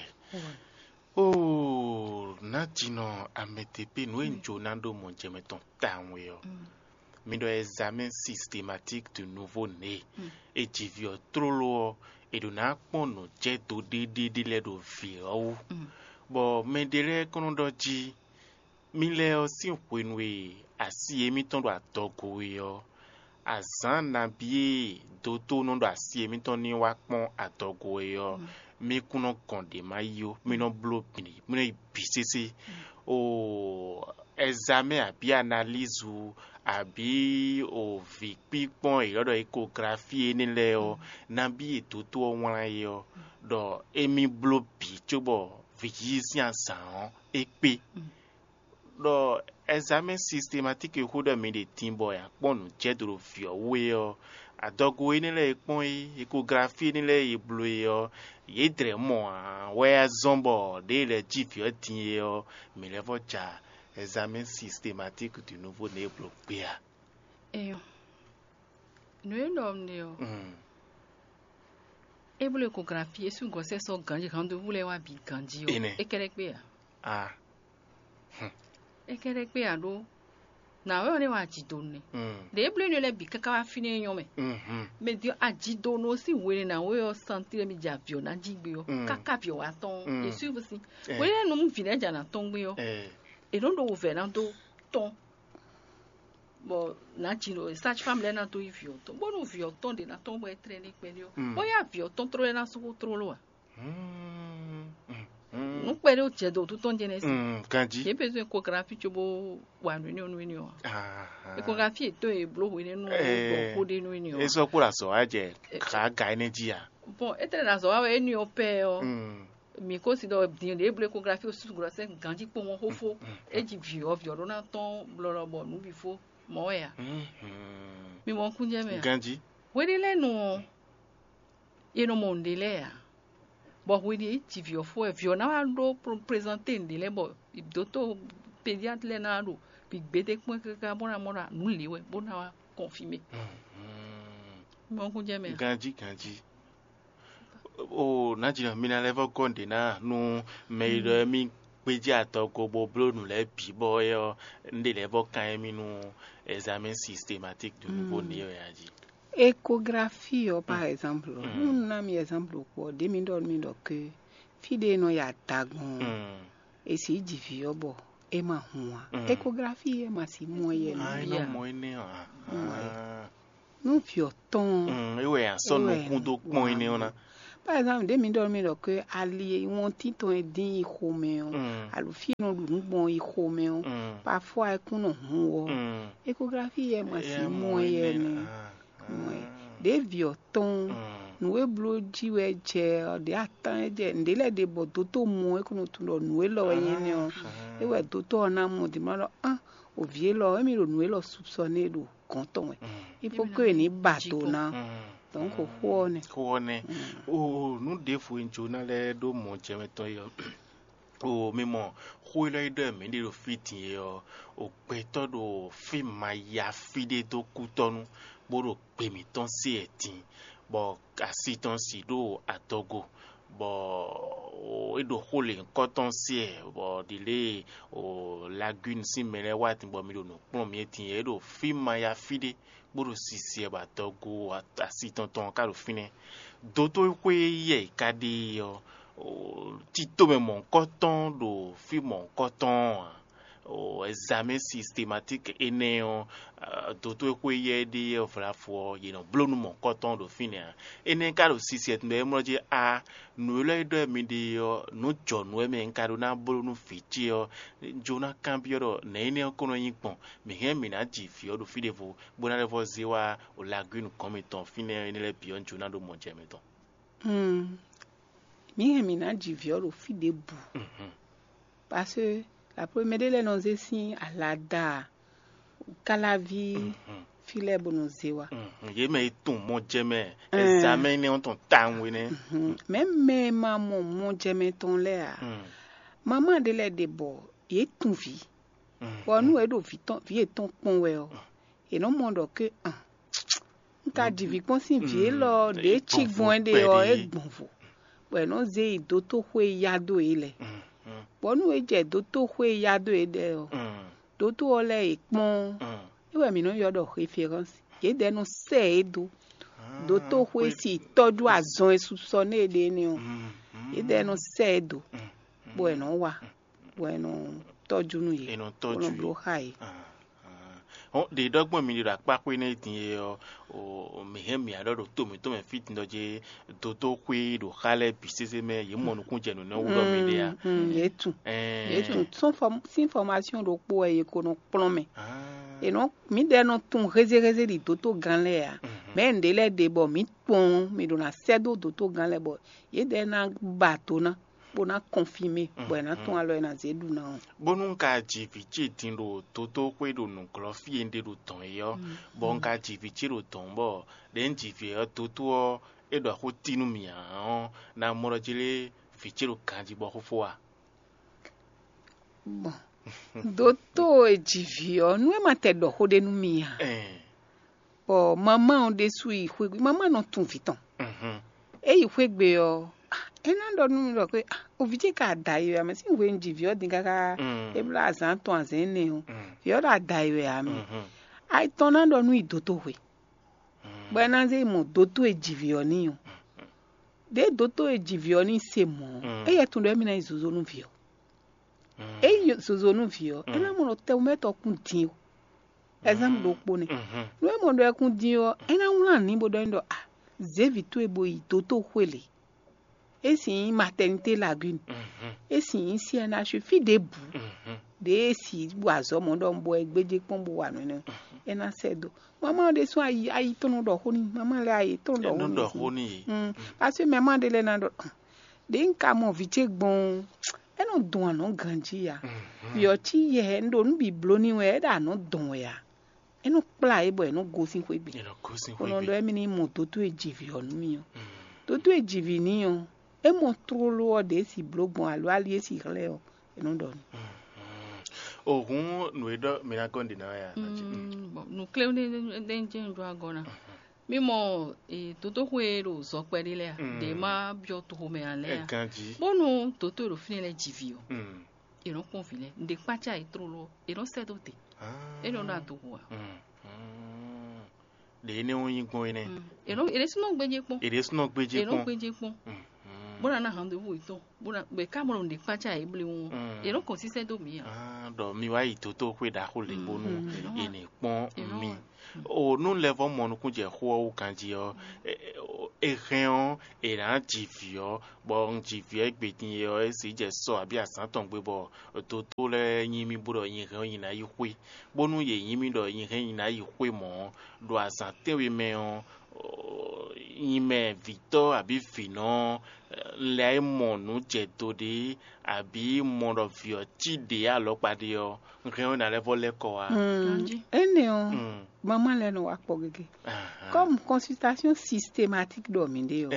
Ó, nǎjínɔ Amɛtepé, nǔ e un jó ná ɖó mɔjɛmɛ tɔn tawun é ɔ́, mi ɖɔ examen systématique du nouveau né. E ji vǐ ɔ́ tlóló ɔ́, è ɖǒ ná kpɔ́n nǔ jɛ dó ɖéɖéɖé lɛ́ɛ ɖo vǐ ɔ́ wú. Bɔ mɛɖé lɛ́ɛ kɔn nɔ ɖɔ jí, mì lɛ́ɛ ɔ́ sín hwenu e asi émítɔn ɖo adɔgo é ɔ́, azǎn nabí e dotó nɔ ɖo asi émítɔn ní wá kpɔ́n adɔgo é ɔ́, mì kún nɔ gɔn ɖě ma yí ó, mì nɔ bló bǐ, mì nɔ yi bǐ sésé. O examen abǐ analízu abǐ o vǐ kpíkpɔ́n e ylɔ́ ɖɔ ékografi énɛ́ lɛ́ɛ ɔ́, nabí e dotó ɔ́ wlán é ɔ́, ɖɔ émí bló bǐ cóbɔ vǐ yíyí sín azǎn ɔ́ é kpé. Ɖɔ examen systématique e xó ɖɔ mi ɖe din bɔ è nǎ kpɔ́n nǔ jɛ do ɖo vǐ ɔ́ wú é ɔ́, adɔgo énɛ́ lɛ́ɛ e kpɔ́n é, ékografi énɛ́ lɛ́ɛ e bló é ɔ́, yě dlɛ̌ mɔ ǎ wɛ wá zɔ́n bɔ ɖěe lɛ́ɛ jí vǐ ɔ́ din é ɔ́, mǐ lɛ́ vɔ́ ja examen systématique du nouveau né e bló gbé a? Eyo. Nǔ e ɖɔ un ɖe ɔ́, é bló ékografi é sú gɔ̌sɛ́ sɔ́ ganjí, handevú lɛ́ɛ wá bǐ ganjí ɔ́, Énɛ́. É kɛ́ɖɛ́ kpé ǎ. A. É kɛ́ɖɛ́ kpé ǎ ɖó nǎwe ɔ́ nɛ́ wá jǐ do nɛ́. Ɖě é bló énɛ́ lɛ́ɛ bǐ káká wá fínɛ́ é nyɔ́ mɛ. Mɛ din ɔ́, ajidonu ɔ́ sín hwenu e nǎwe ɔ́ santín ɖɔ émí jɛ avǐ ɔ́ ná jí gbé ɔ́, káká avǐ ɔ́ wá tɔ́n ɔ́, yě sú sín. Hwenu énɛ́ nu vǐ lɛ́ɛ jɛ nǎ tɔ́n gbé ɔ́, è nɔ́ ɖo wǔvɛ́ ná dó tɔ́n. Bɔ nǎ jǐ ɖo sage-femme lɛ́ɛ ná dó yí vǐ ɔ́ tɔn, bónú vǐ ɔ́ tɔn ɖě ná tɔn bɔ é tlɛ́ ní kpɛɖé ɔ́, bóyá vǐ ɔ́ tɔn tló lɛ́ɛ ná sú xó tlóló ǎ. Nǔ kpɛɖé ó jɛ dǒ tó tɔn jɛnɛ sí. Ganjí. Yě besoin échographie cóbó wa nǔ énɛ́ ɔ́ nú énɛ́ ɔ́. Échographie yětɔn e bló hwenɛ́nu ɔ́ gbɔ xó ɖé nú énɛ́ ɔ́. É sɔ́ kpó ɖo azɔ̌ wá jɛ xǎ ga énɛ́ jí a? Bon, étɛ́ ɖo azɔ̌ wá wɛ énɛ́ ɔ́ pɛ́ ɔ́. Mǐ ko si ɖɔ din ɖě bló échographie ó sú grossesse ganjí kpowun ɔ́ xófó. É ji vǐ ɔ́, vǐ ɔ́ ɖó ná tɔ́n blɔlɔ bɔ nǔ bǐ fó mɔ̌ wɛ a? Mi mɔ kúnjɛ mɛ a? Ganjí. Hweɖé lɛ́ɛ nu ɔ́, è nɔ mɔ nǔɖé lɛ́ɛ ǎ. Bɔ hweɖé é ji vǐ ɔ́ fó wɛ, vǐ ɔ́ ná wá ɖó présenter nǔɖé lɛ́ɛ bɔ dotó pédiatre lɛ́ɛ ná wá ɖo bǐ gbédé kpɔ́n káká bó ná mɔ ɖɔ nǔ lě wɛ bó ná wá confirmer. Mi mɔ kúnjɛ mɛ a? Ganjí, ganjí. O nǎjínɔ, mi ná lɛ́ vɔ́ gɔ́ nǔɖé ná nú mɛ e ɖɔ émí gbéjé adɔgo bó bló nǔ lɛ́ɛ bǐ bɔ é ɔ́, un ɖe lɛ́ vɔ́ kán émí nú examen systématique du nouveau né ɔ́ jí. Échographie ɔ́, par exemple, nú un ná mi exemple kpɔ́, ɖě mi ɖɔ nú mì ɖɔ ke fí ɖé e nɔ ya da gbɔn ɔ́, è sǐ ji vǐ ɔ́ bɔ é ma hun ǎ. Échographie é ma sǐ mɔ yɛ nú. Ah, é nɔ mɔ énɛ́ ɔ́. Nú vǐ ɔ́ tɔn ɔ́, Mm, é wɛ a sɔ́ nukún dó kpɔ́n énɛ́ ɔ́ ná. Par exemple, ɖě mi ɖɔ mi ɖɔ ke ali e wɔntín tɔn e dín yi xomɛ ɔ́, Mm. alo fí e nɔ ɖu nǔ gbɔn yi xomɛ ɔ́, Mm. parfois é kún nɔ hun wɔ. Mm. Échographie yɛ ma si mɔ yɛ nɛ. Mɔ ɛ. Ɖě vǐ ɔ́ tɔn ɔ́, Mm. nǔ e bló jí wɛ jɛ ɔ́, ɖě atán e jɛ nǔɖé lɛ́ɛ ɖe bɔ dótó mɔ é kún nɔ tunwun ɖɔ nǔ élɔ́ wɛ nyí énɛ́ ɔ́, é wɛ dótó ɔ́ ná mɔ din ma ɖɔ á, o vǐ élɔ́, émí ɖo nǔ élɔ́ sukpɔ́ nɛ ɖo gɔ̌n tɔn wɛ. Mm. Il faut que ní ba do ná. Mm. Donc xó ɔ́ nɛ. Xó ɔ́ nɛ. Mm. O nǔ ɖěvo e un jló ná lɛ́ ɖó mɔ̌ jɛ mɛ tɔn é ɔ́, o mi mɔ xó élɔ́ e ɖɔ mǐ ɖe ɖo fí din é ɔ́, o gbɛtɔ́ ɖo fí ma ya fí ɖé dó kútɔ́nú, bó ɖo gbe mǐtɔn se wɛ din, bɔ asi tɔn si ɖo adɔgo, bɔ é ɖo xó lěhunkɔtɔn se wɛ, bɔ ɖi lě o Lagune sín mɛ lɛ́ɛ wá din bɔ mi ɖo nǔ kplɔ́n mǐ é din é ɖo fí ma ya fí ɖé, bó ɖo sisi ɛ bɔ adɔgo asi tɔn tɔn ka ɖo fínɛ́. Dotó xwé yɛ ka ɖe ɔ́, tito mɛ mɔ̌hunkɔtɔn ɖo fí mɔ̌hunkɔtɔn ɔ́ ǎ. Ɛzamɛ sistematiki énɛ́ ɔ́, dotó e xwé yɛ ɖe ɔ́ vlafo ɔ́, yě nɔ bló nú mɔ̌hunkɔtɔn ɖo fínɛ́ ǎ. Énɛ́ ka ɖo sisi ɛ tɔn ɖɔ é mlɔ́ jí a nǔ élɔ́ e ɖɔ mi ɖe ɔ́, nǔ jɔ̌nú wɛ mɛ un ka ɖó ná bló nú vǐ ce ɔ́, jó ná kanbyɔ́ ɖɔ nɛ̌ énɛ́ ɔ́ ko nɔ nyí gbɔn? Mǐ hɛn mǐ ná ji vǐ ɔ́ ɖo fí ɖěvo, bó ná lɛ́ vɔ́ zé wá o Lagwínu gɔ̌n mitɔn fínɛ́ énɛ́ lɛ́ɛ bǐ ɔ́, un jó ná ɖó mɔ jɛ mɛ tɔn. Hmm. Mǐ hɛn mǐ ná ji vǐ ɔ́ ɖo fí ɖěbǔ. Mhm. Parce que la première ɖé lɛ́ɛ nɔ zé sín alada Káláví Mhm. fí lɛ́ɛ bó nɔ zé wá. Mhm. Yě mɛ e tunwun mɔ jɛ mɛ, Ɛɛ. Ɛzamɛ énɛ́ ɔ́ tɔn tawun énɛ́. Mhm. Mɛ̌ mɛ e ma mɔ mɔ jɛ mɛ tɔn lɛ́ɛ ǎ? Mm. Mamá ɖé lɛ́ɛ ɖe bɔ yě tunwun vǐ. Mm. Bɔ nú é ɖo vǐ tɔn vǐ yětɔn kpɔ́n wɛ ɔ́, è nɔ mɔ ɖɔ ké an un ka ji vǐ kpɔ́n sín vǐ élɔ́ ɖě cí gbɔn é ɖe ɔ́, é gbɔn vo, bɔ è nɔ zé yi dótóxwé e yá dó é lɛ́ɛ. Bɔ nú é jɛ dótóxwé e yá dó é ɖɛ́ ɔ́, dótó ɔ́ lɛ́ɛ è kpɔ́n ɔ́, é wɛ mǐ nɔ ylɔ́ ɖɔ référence. Yědɛɛ nɔ sɛ é dó dótóxwé si tɔ́jú azɔn e susɔ nú é ɖe énɛ́ ɔ́, yědɛɛ nɔ sɛ é dó, bɔ è nɔ wa, bɔ è nɔ tɔ́jú nú yě, È nɔ bó tɔ́jú nɔ yě. bló xá yě. Hɔn ɖe ɖɔ gbɔn mi ɖe ɖo akpákpé nɛ din e ɔ, o mi hɛn mi aɖɔ ɖo to mǐtɔn mɛ fí din dɔ je dódó xwé ɖo xa lɛ́ɛ bǐ sésé mɛ yě mɔ nukún jɛ nǔ nɛ wú ɖɔ mi ɖe a. Mm, yě tun. Ɛɛ. Yě tun sɔn fɔm sin fɔmasion ɖokpó wɛ yě ko nɔ kplɔn mɛ. Ah. È nɔ mǐ ɖɛ nɔ tun hézéhézé ɖi dótó gán lɛ́ɛ a. Mhm. Mɛ nɖé lɛ́ɛ ɖe bɔ mǐ kpɔn mǐ ɖo na sɛ́ dó dótó gán lɛ́ɛ bɔ yě ɖɛ ná ba do ná bó ná kɔnfimé, bɔ è nǎ tún alɔ e ná zé ɖu ná ɔ́. Bónú un ka ji vǐ ce din ɖo dódó xwé ɖo nǔglɔ́ fí e un ɖe ɖo dɔ̌n é ɔ́, bɔ un ka ji vǐ ce ɖo dɔ̌n bɔ ɖě un ji vǐ ɔ́ dótó ɔ́, é ɖɔ xó tí nú mì ǎ ɔ́, ná mɔ ɖɔ jí lé vǐ ce ɖo ganjí bɔ xófó a? Bon, dótó e ji vǐ ɔ́, nú é ma tɛ ɖɔ xó ɖé nú mi ǎ, Ɛn. Bɔ mamá ɔ́ ɖésú yi xwé gbe, mamá nɔ tunwun vǐ tɔn. Mhm. É yi xwé gbe ɔ́, ah, é ná ɖɔ nú mi ɖɔ xwé, ah, o vǐ ce ka ada yi wɛ, a mɛ sín hwe un ji vǐ ɔ́ din káká Mm. é blá azǎn tɔn azǎn énɛ́ ɔ́, Mm. vǐ ɔ́ ɖo ada yi wɛ ǎ mɛ. Mhm. Ayi tɔn ná ɖɔ nú yi dótó hwe. Mm. Bɔ é ná zé yi mɔ dótó e ji vǐ ɔ́ n'i ɔ́. Ɖěe dótó e ji vǐ ɔ́ n'i se mɔ̌ ɔ́, Mm. éyɛ́ tunwun ɖɔ émí ná yi zozo nú vǐ ɔ́. Mm. É nyí zozo nú vǐ ɔ́, é ná mɔ ɖɔ tɛwunmɛtɔ́ kún din o. Ɛzánpu ɖokpó nɛ́. Mhm. Nú é mɔ ɖɔ é kún din ɔ́, é ná wlán nǔ bó ɖɔ n'i ɖɔ a zě vǐ towe bo yi dótó xwé lě. É sin nyí matɛnité lagune. Mhm. É sin nyí C N H fí ɖěbǔ. Mhm. Ɖě é si bu azɔ̌ mɔ̌ ɖɔ un bɔ ɛ gbéjé kpɔ́n bó wa nǔ énɛ́. É ná sɛ́ dó. Mamá ɔ́ ɖésú ayi ayi tɔn nɔ ɖɔ xó n'i. Mamá lɛ́ɛ ayi tɔn nɔ ɖɔ xó n'i. Nɔ ɖɔ xó n'i. Mm. Parce que mamá ɖé lɛ́ɛ ná ɖɔ ɖě un ka mɔ vǐ ce gbɔn ɔ́, é nɔ dun anɔ̌ ganjí ǎ. Mhm. Vǐ ɔ́ cí yɛ un ɖo nǔ bǐ bló n'i wɛ, é ɖo anɔ̌ dɔn wɛ ǎ. É nɔ kplá yě bɔ yě nɔ gosín xwé gbe. È nɔ gosín Bó xwé nɔ gbe. Ɖɔ émí ní mɔ dótó e ji vǐ ɔ́ nú mì ɔ́. Mm. Dótó e ji vǐ n'i ɔ́, é mɔ tlóló ɔ́ ɖě si bló gbɔn alo ali e si hlɛ́ ɔ́, é nɔ ɖɔ n'i. Mm, mm. O hǔn nǔ e ɖɔ mi ná gɔ́n ɖe ná wɛ a? Mm, bon, nǔkléwú ɖé ɖé jẹ́ ń jó agɔ ná. Mi mɔ e dótóxwé e ɖo zɔkpɛ ɖé lɛ́ɛ a? Mm. Ɖě ma byɔ́ toxomɛ ǎ lɛ́ɛ Ɛ a? Ganjí. Bónú dótó e ɖo fínɛ́ lɛ́ɛ ji vǐ ɔ́, Mm. è nɔ kpɔ́n vǐ lɛ́ɛ. Ǹɖe kpácá yě tlóló ɔ́, è nɔ sɛ́ dó te. Ah. É nɔ ɖo adohu ǎ. Mm, mm. Ɖě énɛ́ ɔ́ nyí gbɔn énɛ́. Mm. È nɔ è ɖésú nɔ gbéjé kpɔ́n. È ɖésú nɔ gbéjé È nɔ kpɔ́n. gbéjé kpɔ́n. Mm, mm. Bó ná ná hǎn ɖěvo yětɔn. Bó ná gbɛ ká mɔ ɖo ǹɖe kpácá yě blewún ɔ́. Mm. È nɔ kɔn sísɛ́ dó mǐ ǎ. Ah, ɖɔ mi wá yi dotóxwé ɖaxó lě bónú è nǐ kpɔ́n mi. O nú lɛ́ vɔ́ mɔ nukúnjɛxó ɔ́ wú ganjí ɔ́, é hɛn ɔ́, è nǎ ji vǐ ɔ́, bɔ un ji vǐ ɔ́ égbé din é ɔ́, é sǐ jɛ sɔ abǐ azǎn tɔn gbe bɔ dotó lɛ́ɛ nyí mì bó ɖɔ nyi hɛn ɔ́ nyi ná yi xwé, bónú yě nyí mì ɖɔ nyi hɛn nyi ná yi xwé mɔ̌ ɔ́, ɖo azǎn tɛ́nwe mɛ ɔ́, nyi mɛ vǐtɔ́ abǐ vǐnɔ ɔ́, un lɛ́ mɔ nǔ jɛ do ɖé abǐ mɔ ɖɔ vǐ ɔ́ cí ɖě alɔkpa ɖé ɔ́, un hɛn ɔ́ ná lɛ́ vɔ lɛ́ kɔ wá. Énɛ́ ɔ́, mamá lɛ́ɛ nɔ wá kpɔ gégé. Comme consultation systématique ɖɔ mǐ ɖe ɔ́,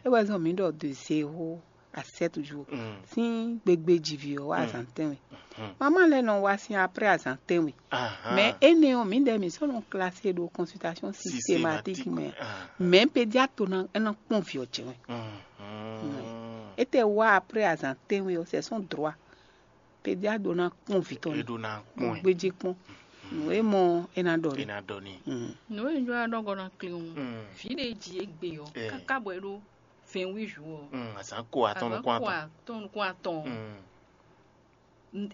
é wɛ zɔn mǐ ɖɔ de zéro à sept jours sín gbegbe jivǐ ɔ́ wá azǎn tɛ́nwe. Mamá lɛ́ɛ nɔ wá sín après azǎn tɛ́nwe. Mais énɛ́ ɔ́, mǐdɛɛ mǐ sɔ́ nɔ classé ɖo consultation systématique mɛ. Mais pédiatre ná é ná kpɔn vǐ ɔ́ jɛ wɛ. Étɛ́ wá après azǎn tɛ́nwe ɔ́, c'est son droit. Pédiatre ɖó ná kpɔn vǐ tɔn é ní ɖó ná kpɔn ɛ. Gbéjé kpɔn. Nǔ e mɔ é ná ɖɔ é ní. Ná ɖɔ ní. Nǔ e un jló ná ɖɔ gɔ́ ná klín ɔ́, vǐ ɖé e ji égbé ɔ́, káká bɔ é ɖó vingt-huit jours ɔ́, Mm, azǎn ko atɔn nukún atɔn. Atɔn nukún atɔn ɔ́,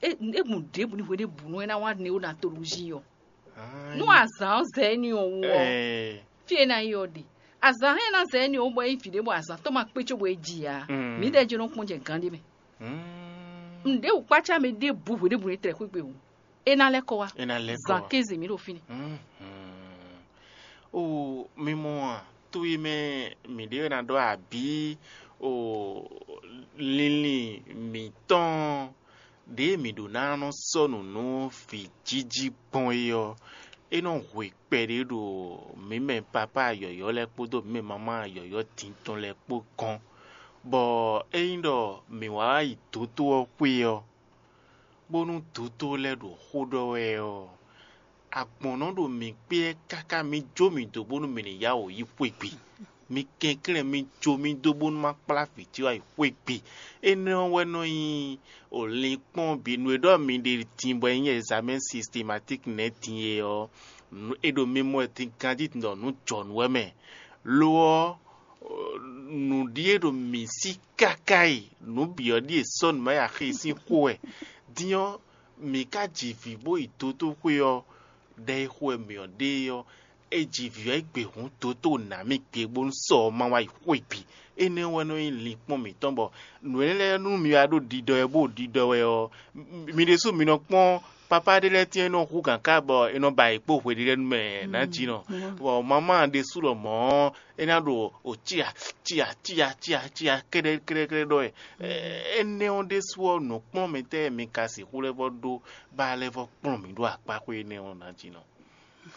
é é mɔ ɖěbǔ ní hwe ɖěbǔ nú é ná wá nɛ́ ó ná tolúzi ɔ́. Nú azǎn ɔ́ zɛ é ní ɔ́ wú ɔ́, fí e é ná yi ɔ́ ɖe. Azǎn hɛn ná zɛ é ní ɔ́ wú bɔ é nyí vǐ ɖé bɔ azǎn tɔn ma kpé cóbɔ é ji ǎ. Mǐdɛɛ jɛ́n nɔ kpɔ́n jɛ gǎn ɖé mɛ. Nǔɖé wǔkpácá mɛ ɖěbǔ hweɖěbǔ ní tlɛ xwé gbe wú. É ná lɛ́ kɔ wá. É ná lɛ́ kɔ wá. Zǎn kéze mǐ ɖo fínɛ́. O mi mɔ a, to e mɛ mǐ ɖe ná ɖɔ abǐ o linlin mǐtɔn ɖě mǐ ɖó ná nɔ sɔ́ nǔ nú vǐ jíjí gbɔn é ɔ́, é nɔ hwe kpɛɖé ɖo mǐ mɛ papá yɔ̌yɔ́ lɛ́ɛ kpódó mǐ mɛ mamá yɔ̌yɔ́ din tɔn lɛ́ɛ kpó gɔ́n, bɔ ényí ɖɔ mǐ wá yi dǒtó ɔ́ xwé ɔ́, bónú dǒtó lɛ́ɛ ɖo xó ɖɔ wɛ ɔ́, agbɔ̌n nɔ ɖo mǐ kpé káká mǐ jó mǐ dó bónú mǐ ní yá wǔ yi xwé gbe. Mi kɛnklɛ́n mi jó mì dó bónú má kplá vǐ ce wá yi xwé gbe. Énɛ́ ɔ́ wɛ nɔ nyí o linkpɔ́n bǐ nú e ɖɔ mi ɖe din bɔ é nyí examen systématique nɛ́ din é ɔ́, é ɖo mi mɔ wɛ din ganjí ɖɔ nǔ jɔ nǔ wɛ mɛ. Lo ɔ́, nǔɖíe ɖo mǐ sí káká e nǔ bǐ ɔ́ ɖíe sɔ́ nǔ ma yi axi sín xó wɛ. Din ɔ́, mǐ ka ji vǐ bó yi dótóxwé ɔ́, ɖɛ e xo wɛ mǐ ɔ́ ɖe é ɔ́, é ji vǐ ɔ́ é gbe hǔn dó tó nǎ mì gbe bónú sɔ ɔ́ ma wá yi xwé bǐ. Énɛ́ wɛ nɔ nyí linkpɔ́n mǐtɔn bɔ nǔ énɛ́ lɛ́ɛ nú mi wá ɖo ɖiɖɔ wɛ bó ɖiɖɔ wɛ ɔ́, mi ɖésú mi nɔ kpɔ́n papá ɖé lɛ́ɛ tɛ́n e nɔ hú gǎn ká bɔ è nɔ ba yě kpó hweɖélɛ́nu mɛ nǎ jí nɔ. Bɔ mamá ɖésú lɔ mɔ̌ é ná ɖo o cia cia cia cia cia kɛ́ɖɛ́ kɛ́ɖɛ́ kɛ́ɖɛ́ ɖɔ wɛ. Énɛ́ ɔ́ ɖésú ɔ́, nǔkplɔ́nmɛtɛ́ e mi ka sixú lɛ́ vɔ ɖó ba lɛ́ vɔ kplɔ́n mǐ ɖó akpá xwé énɛ́ ɔ́ ná jí nɔ.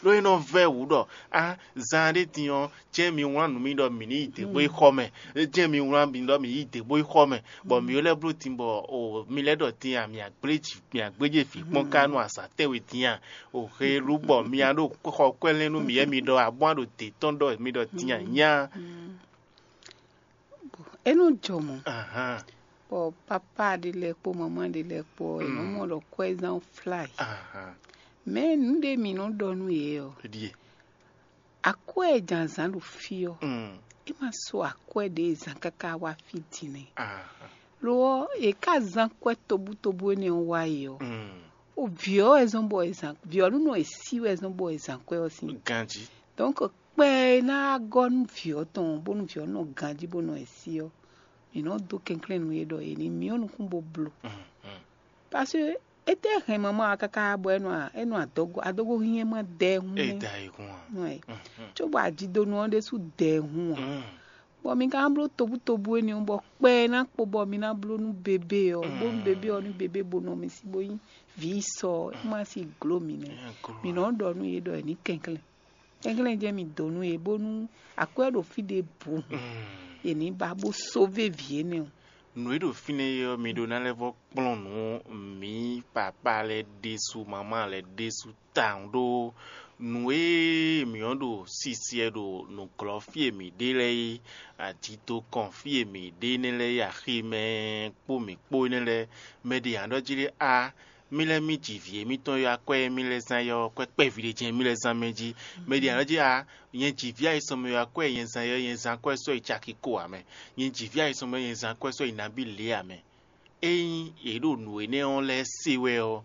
Ɖó é nɔ vɛ́ wǔ ɖɔ á zan ɖé din ɔ́, jɛ́n mi wlán nǔ mì ɖɔ mǐ ní yi dě bó yi xɔ mɛ, jɛ́n mi wlán mì ɖɔ mǐ yi dě bó yi xɔ mɛ, bɔ mǐ lɛ́ bló din bɔ o mi lɛ́ ɖɔ din a mǐ agblé jǐ mǐ agblé jɛ vǐ kpɔ́n ká nú azǎn tɛ́nwe din a? O he lú bɔ mi a ɖo xɔ kwɛ́lɛ́n nú mǐ yɛ mi ɖɔ a bó a ɖo dě tɔn ɖɔ mi ɖɔ din a nyá. É nɔ jɔ mɔ̌. Bɔ papa ɖé lɛ́ɛ kpó mamá ɖé lɛ́ɛ kpó ɔ́, è nɔ mɔ ɖɔ kwɛ́zán fla yi. Mɛ nǔ ɖé mǐ nɔ ɖɔ nú yě ɔ́, akwɛ́ e jǎnzǎn ɖo fí ɔ́, é ma so akwɛ́ ɖě e zǎn káká wá fí din nɛ́. Lo ɔ́, è ká zán kwɛ́ tobútobú énɛ́ ɔ́ wá yi ɔ́, o vǐ ɔ́ wɛ zɔ́n bɔ è zǎn vǐ ɔ́ nú nɔ è sí wɛ zɔ́n bɔ è zǎn kwɛ́ ɔ́ sín. Ganjí. Donc kpɛ e ná gɔ́ nú vǐ ɔ́ tɔn bónú vǐ ɔ́ nɔ ganjí bó nɔ è sí ɔ́, mǐ nɔ dó kɛnklɛ́n nú yě ɖɔ yě ní myɔ nukún bó bló. Parce que étɛ́ hɛn mamá ɔ́ káká bɔ é nɔ é nɔ adɔgo adɔgo hinyɛ́ ma dɛ ɛ hún É nɛ́. Da yi hun a? Nɔ ɛ. Cóbɔ ajidonu ɔ́ ɖésú dɛ ɛ hún ǎ. Bɔ mi ka bló tobútobú énɛ́ ɔ́, bɔ kpɛ e ná kpo bɔ mi ná bló nú bebé ɔ́, bónú bebé ɔ́ ní bebé bo nɔ mi sí bó nyí vǐ sɔ ɔ́, é má sí gló mi nɛ́. Mi nɔ ɖɔ nú yě ɖɔ è ní kɛnklɛ́n. Kɛnklɛ́n jɛ́n mi dǒ nú yě bónú akwɛ́ ɖo fí ɖěbǔ hǔn, è ní ba bó sóvé vǐ énɛ́ ɔ́. Nǔ e ɖo fínɛ́ é ɔ́, mi ɖó ná lɛ́ vɔ́ kplɔ́n nǔ mǐ papá lɛ́ɛ ɖésú, mamá lɛ́ɛ ɖésú tawun ɖó nǔ e mǐ ɔ́ ɖo sisiɛ ɖo nǔglɔ́ fí e mǐ ɖe lɛ́ɛ é, ajitokɔn fí e mǐ ɖe énɛ́ lɛ́ɛ é, aximɛ kpó mǐ kpó énɛ́ lɛ́ɛ, mɛ ɖě ǎ ɖɔ jí ɖé á, mì lɛ́ mì ji vǐ émítɔn e akwɛ́ e mì lɛ́ zán é ɔ́, kwɛ́ kpɛví ɖé jɛ́n mì lɛ́ zán mɛ jí. Mɛ ɖě ǎ ɖɔ jí a, nyɛ ji vǐ ayisɔnmɛ e akwɛ́ e nyɛ zán é ɔ́, nyɛ zán akwɛ́ sɔ́ yi caki ko ǎ mɛ. Nyɛ ji vǐ ayisɔnmɛ e nyɛ zán akwɛ́ sɔ́ yi nabí lě ǎ mɛ. Ényí yě ɖo nǔ énɛ́ ɔ́ lɛ́ɛ se wɛ ɔ́,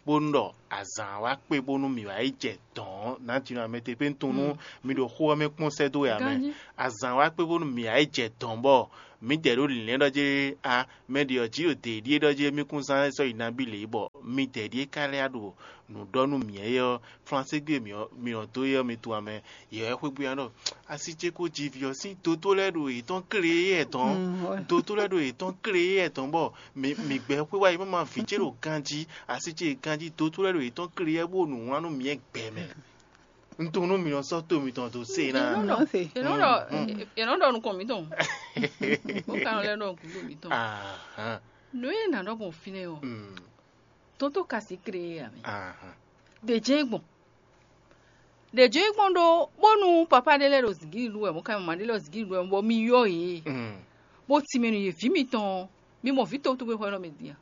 bónú ɖɔ azǎn wá kpé bónú mǐ wá yi jɛ dɔ̌n ɔ́, nǎjínɔ amɛtepéntɔn nú mi ɖo xó ɔ́ mɛ kpɔ́n sɛ́ dó wɛ ǎ mɛ. Ganjí. Azǎn wá kpé bónú mǐ wá yi jɛ dɔ̌n bɔ mǐdɛɛ ɖó lǐnlɛ́n ɖɔ jɛ́ a mɛ ɖě ɔ́ jí ɖo dě ɖíe ɖɔ jɛ́ mí kún zán sɔ́ yi nabí lě bɔ midɛɛ ɖíe ka lɛ́ ɖo nǔ ɖɔ nú mǐ ɔ́, Flanségbe mǐ ɔ́, mi nɔ dó éyɔ́ mi tunwun mɛ, yě wɛ xwé bú ya ɖɔ asi ce ko ji vǐ ɔ́ sín dotó lɛ́ɛ ɖo yětɔn klé yɛ tɔn. Dotó lɛ́ɛ ɖo yětɔn klé yɛ tɔn bɔ mi mi gbɛ xwé wá yi má ma vǐ ce ɖo ganjí, asi ce ganjí dotó lɛ́ɛ ɖo yětɔn klé yɛ bó nǔ wlán nú mǐ gbɛ mɛ. Un tunwun nú mi nɔ sɔ́ to mitɔn dó se ná. Yě nɔ ɖɔ yě nɔ ɖɔ yě nɔ ɖɔ nukɔn mǐtɔn. Bó ka nɔ lɛ́ ɖɔ gǔdo mǐtɔn. Ahan. Nǔ e nǎ ɖɔ gbɔn fínɛ́ ɔ́, Mm, tótó ka sí klé yɛ mɛ. Ahan. Ɖě jɛ́n gbɔn. Ɖě jɛ́n gbɔn ɖó bónú papá ɖé lɛ́ɛ ɖo zǐngídi ɖu wɛ, mɔ̌ ka mama ɖé lɛ́ɛ ɖo zǐngídi ɖu wɛ, bɔ mi yɔ yě. Mm, Bó tínmɛ nú yě vǐ mitɔn ɔ́, mi mɔ vǐ towútɔ́ xwé nɔ mɛ din a?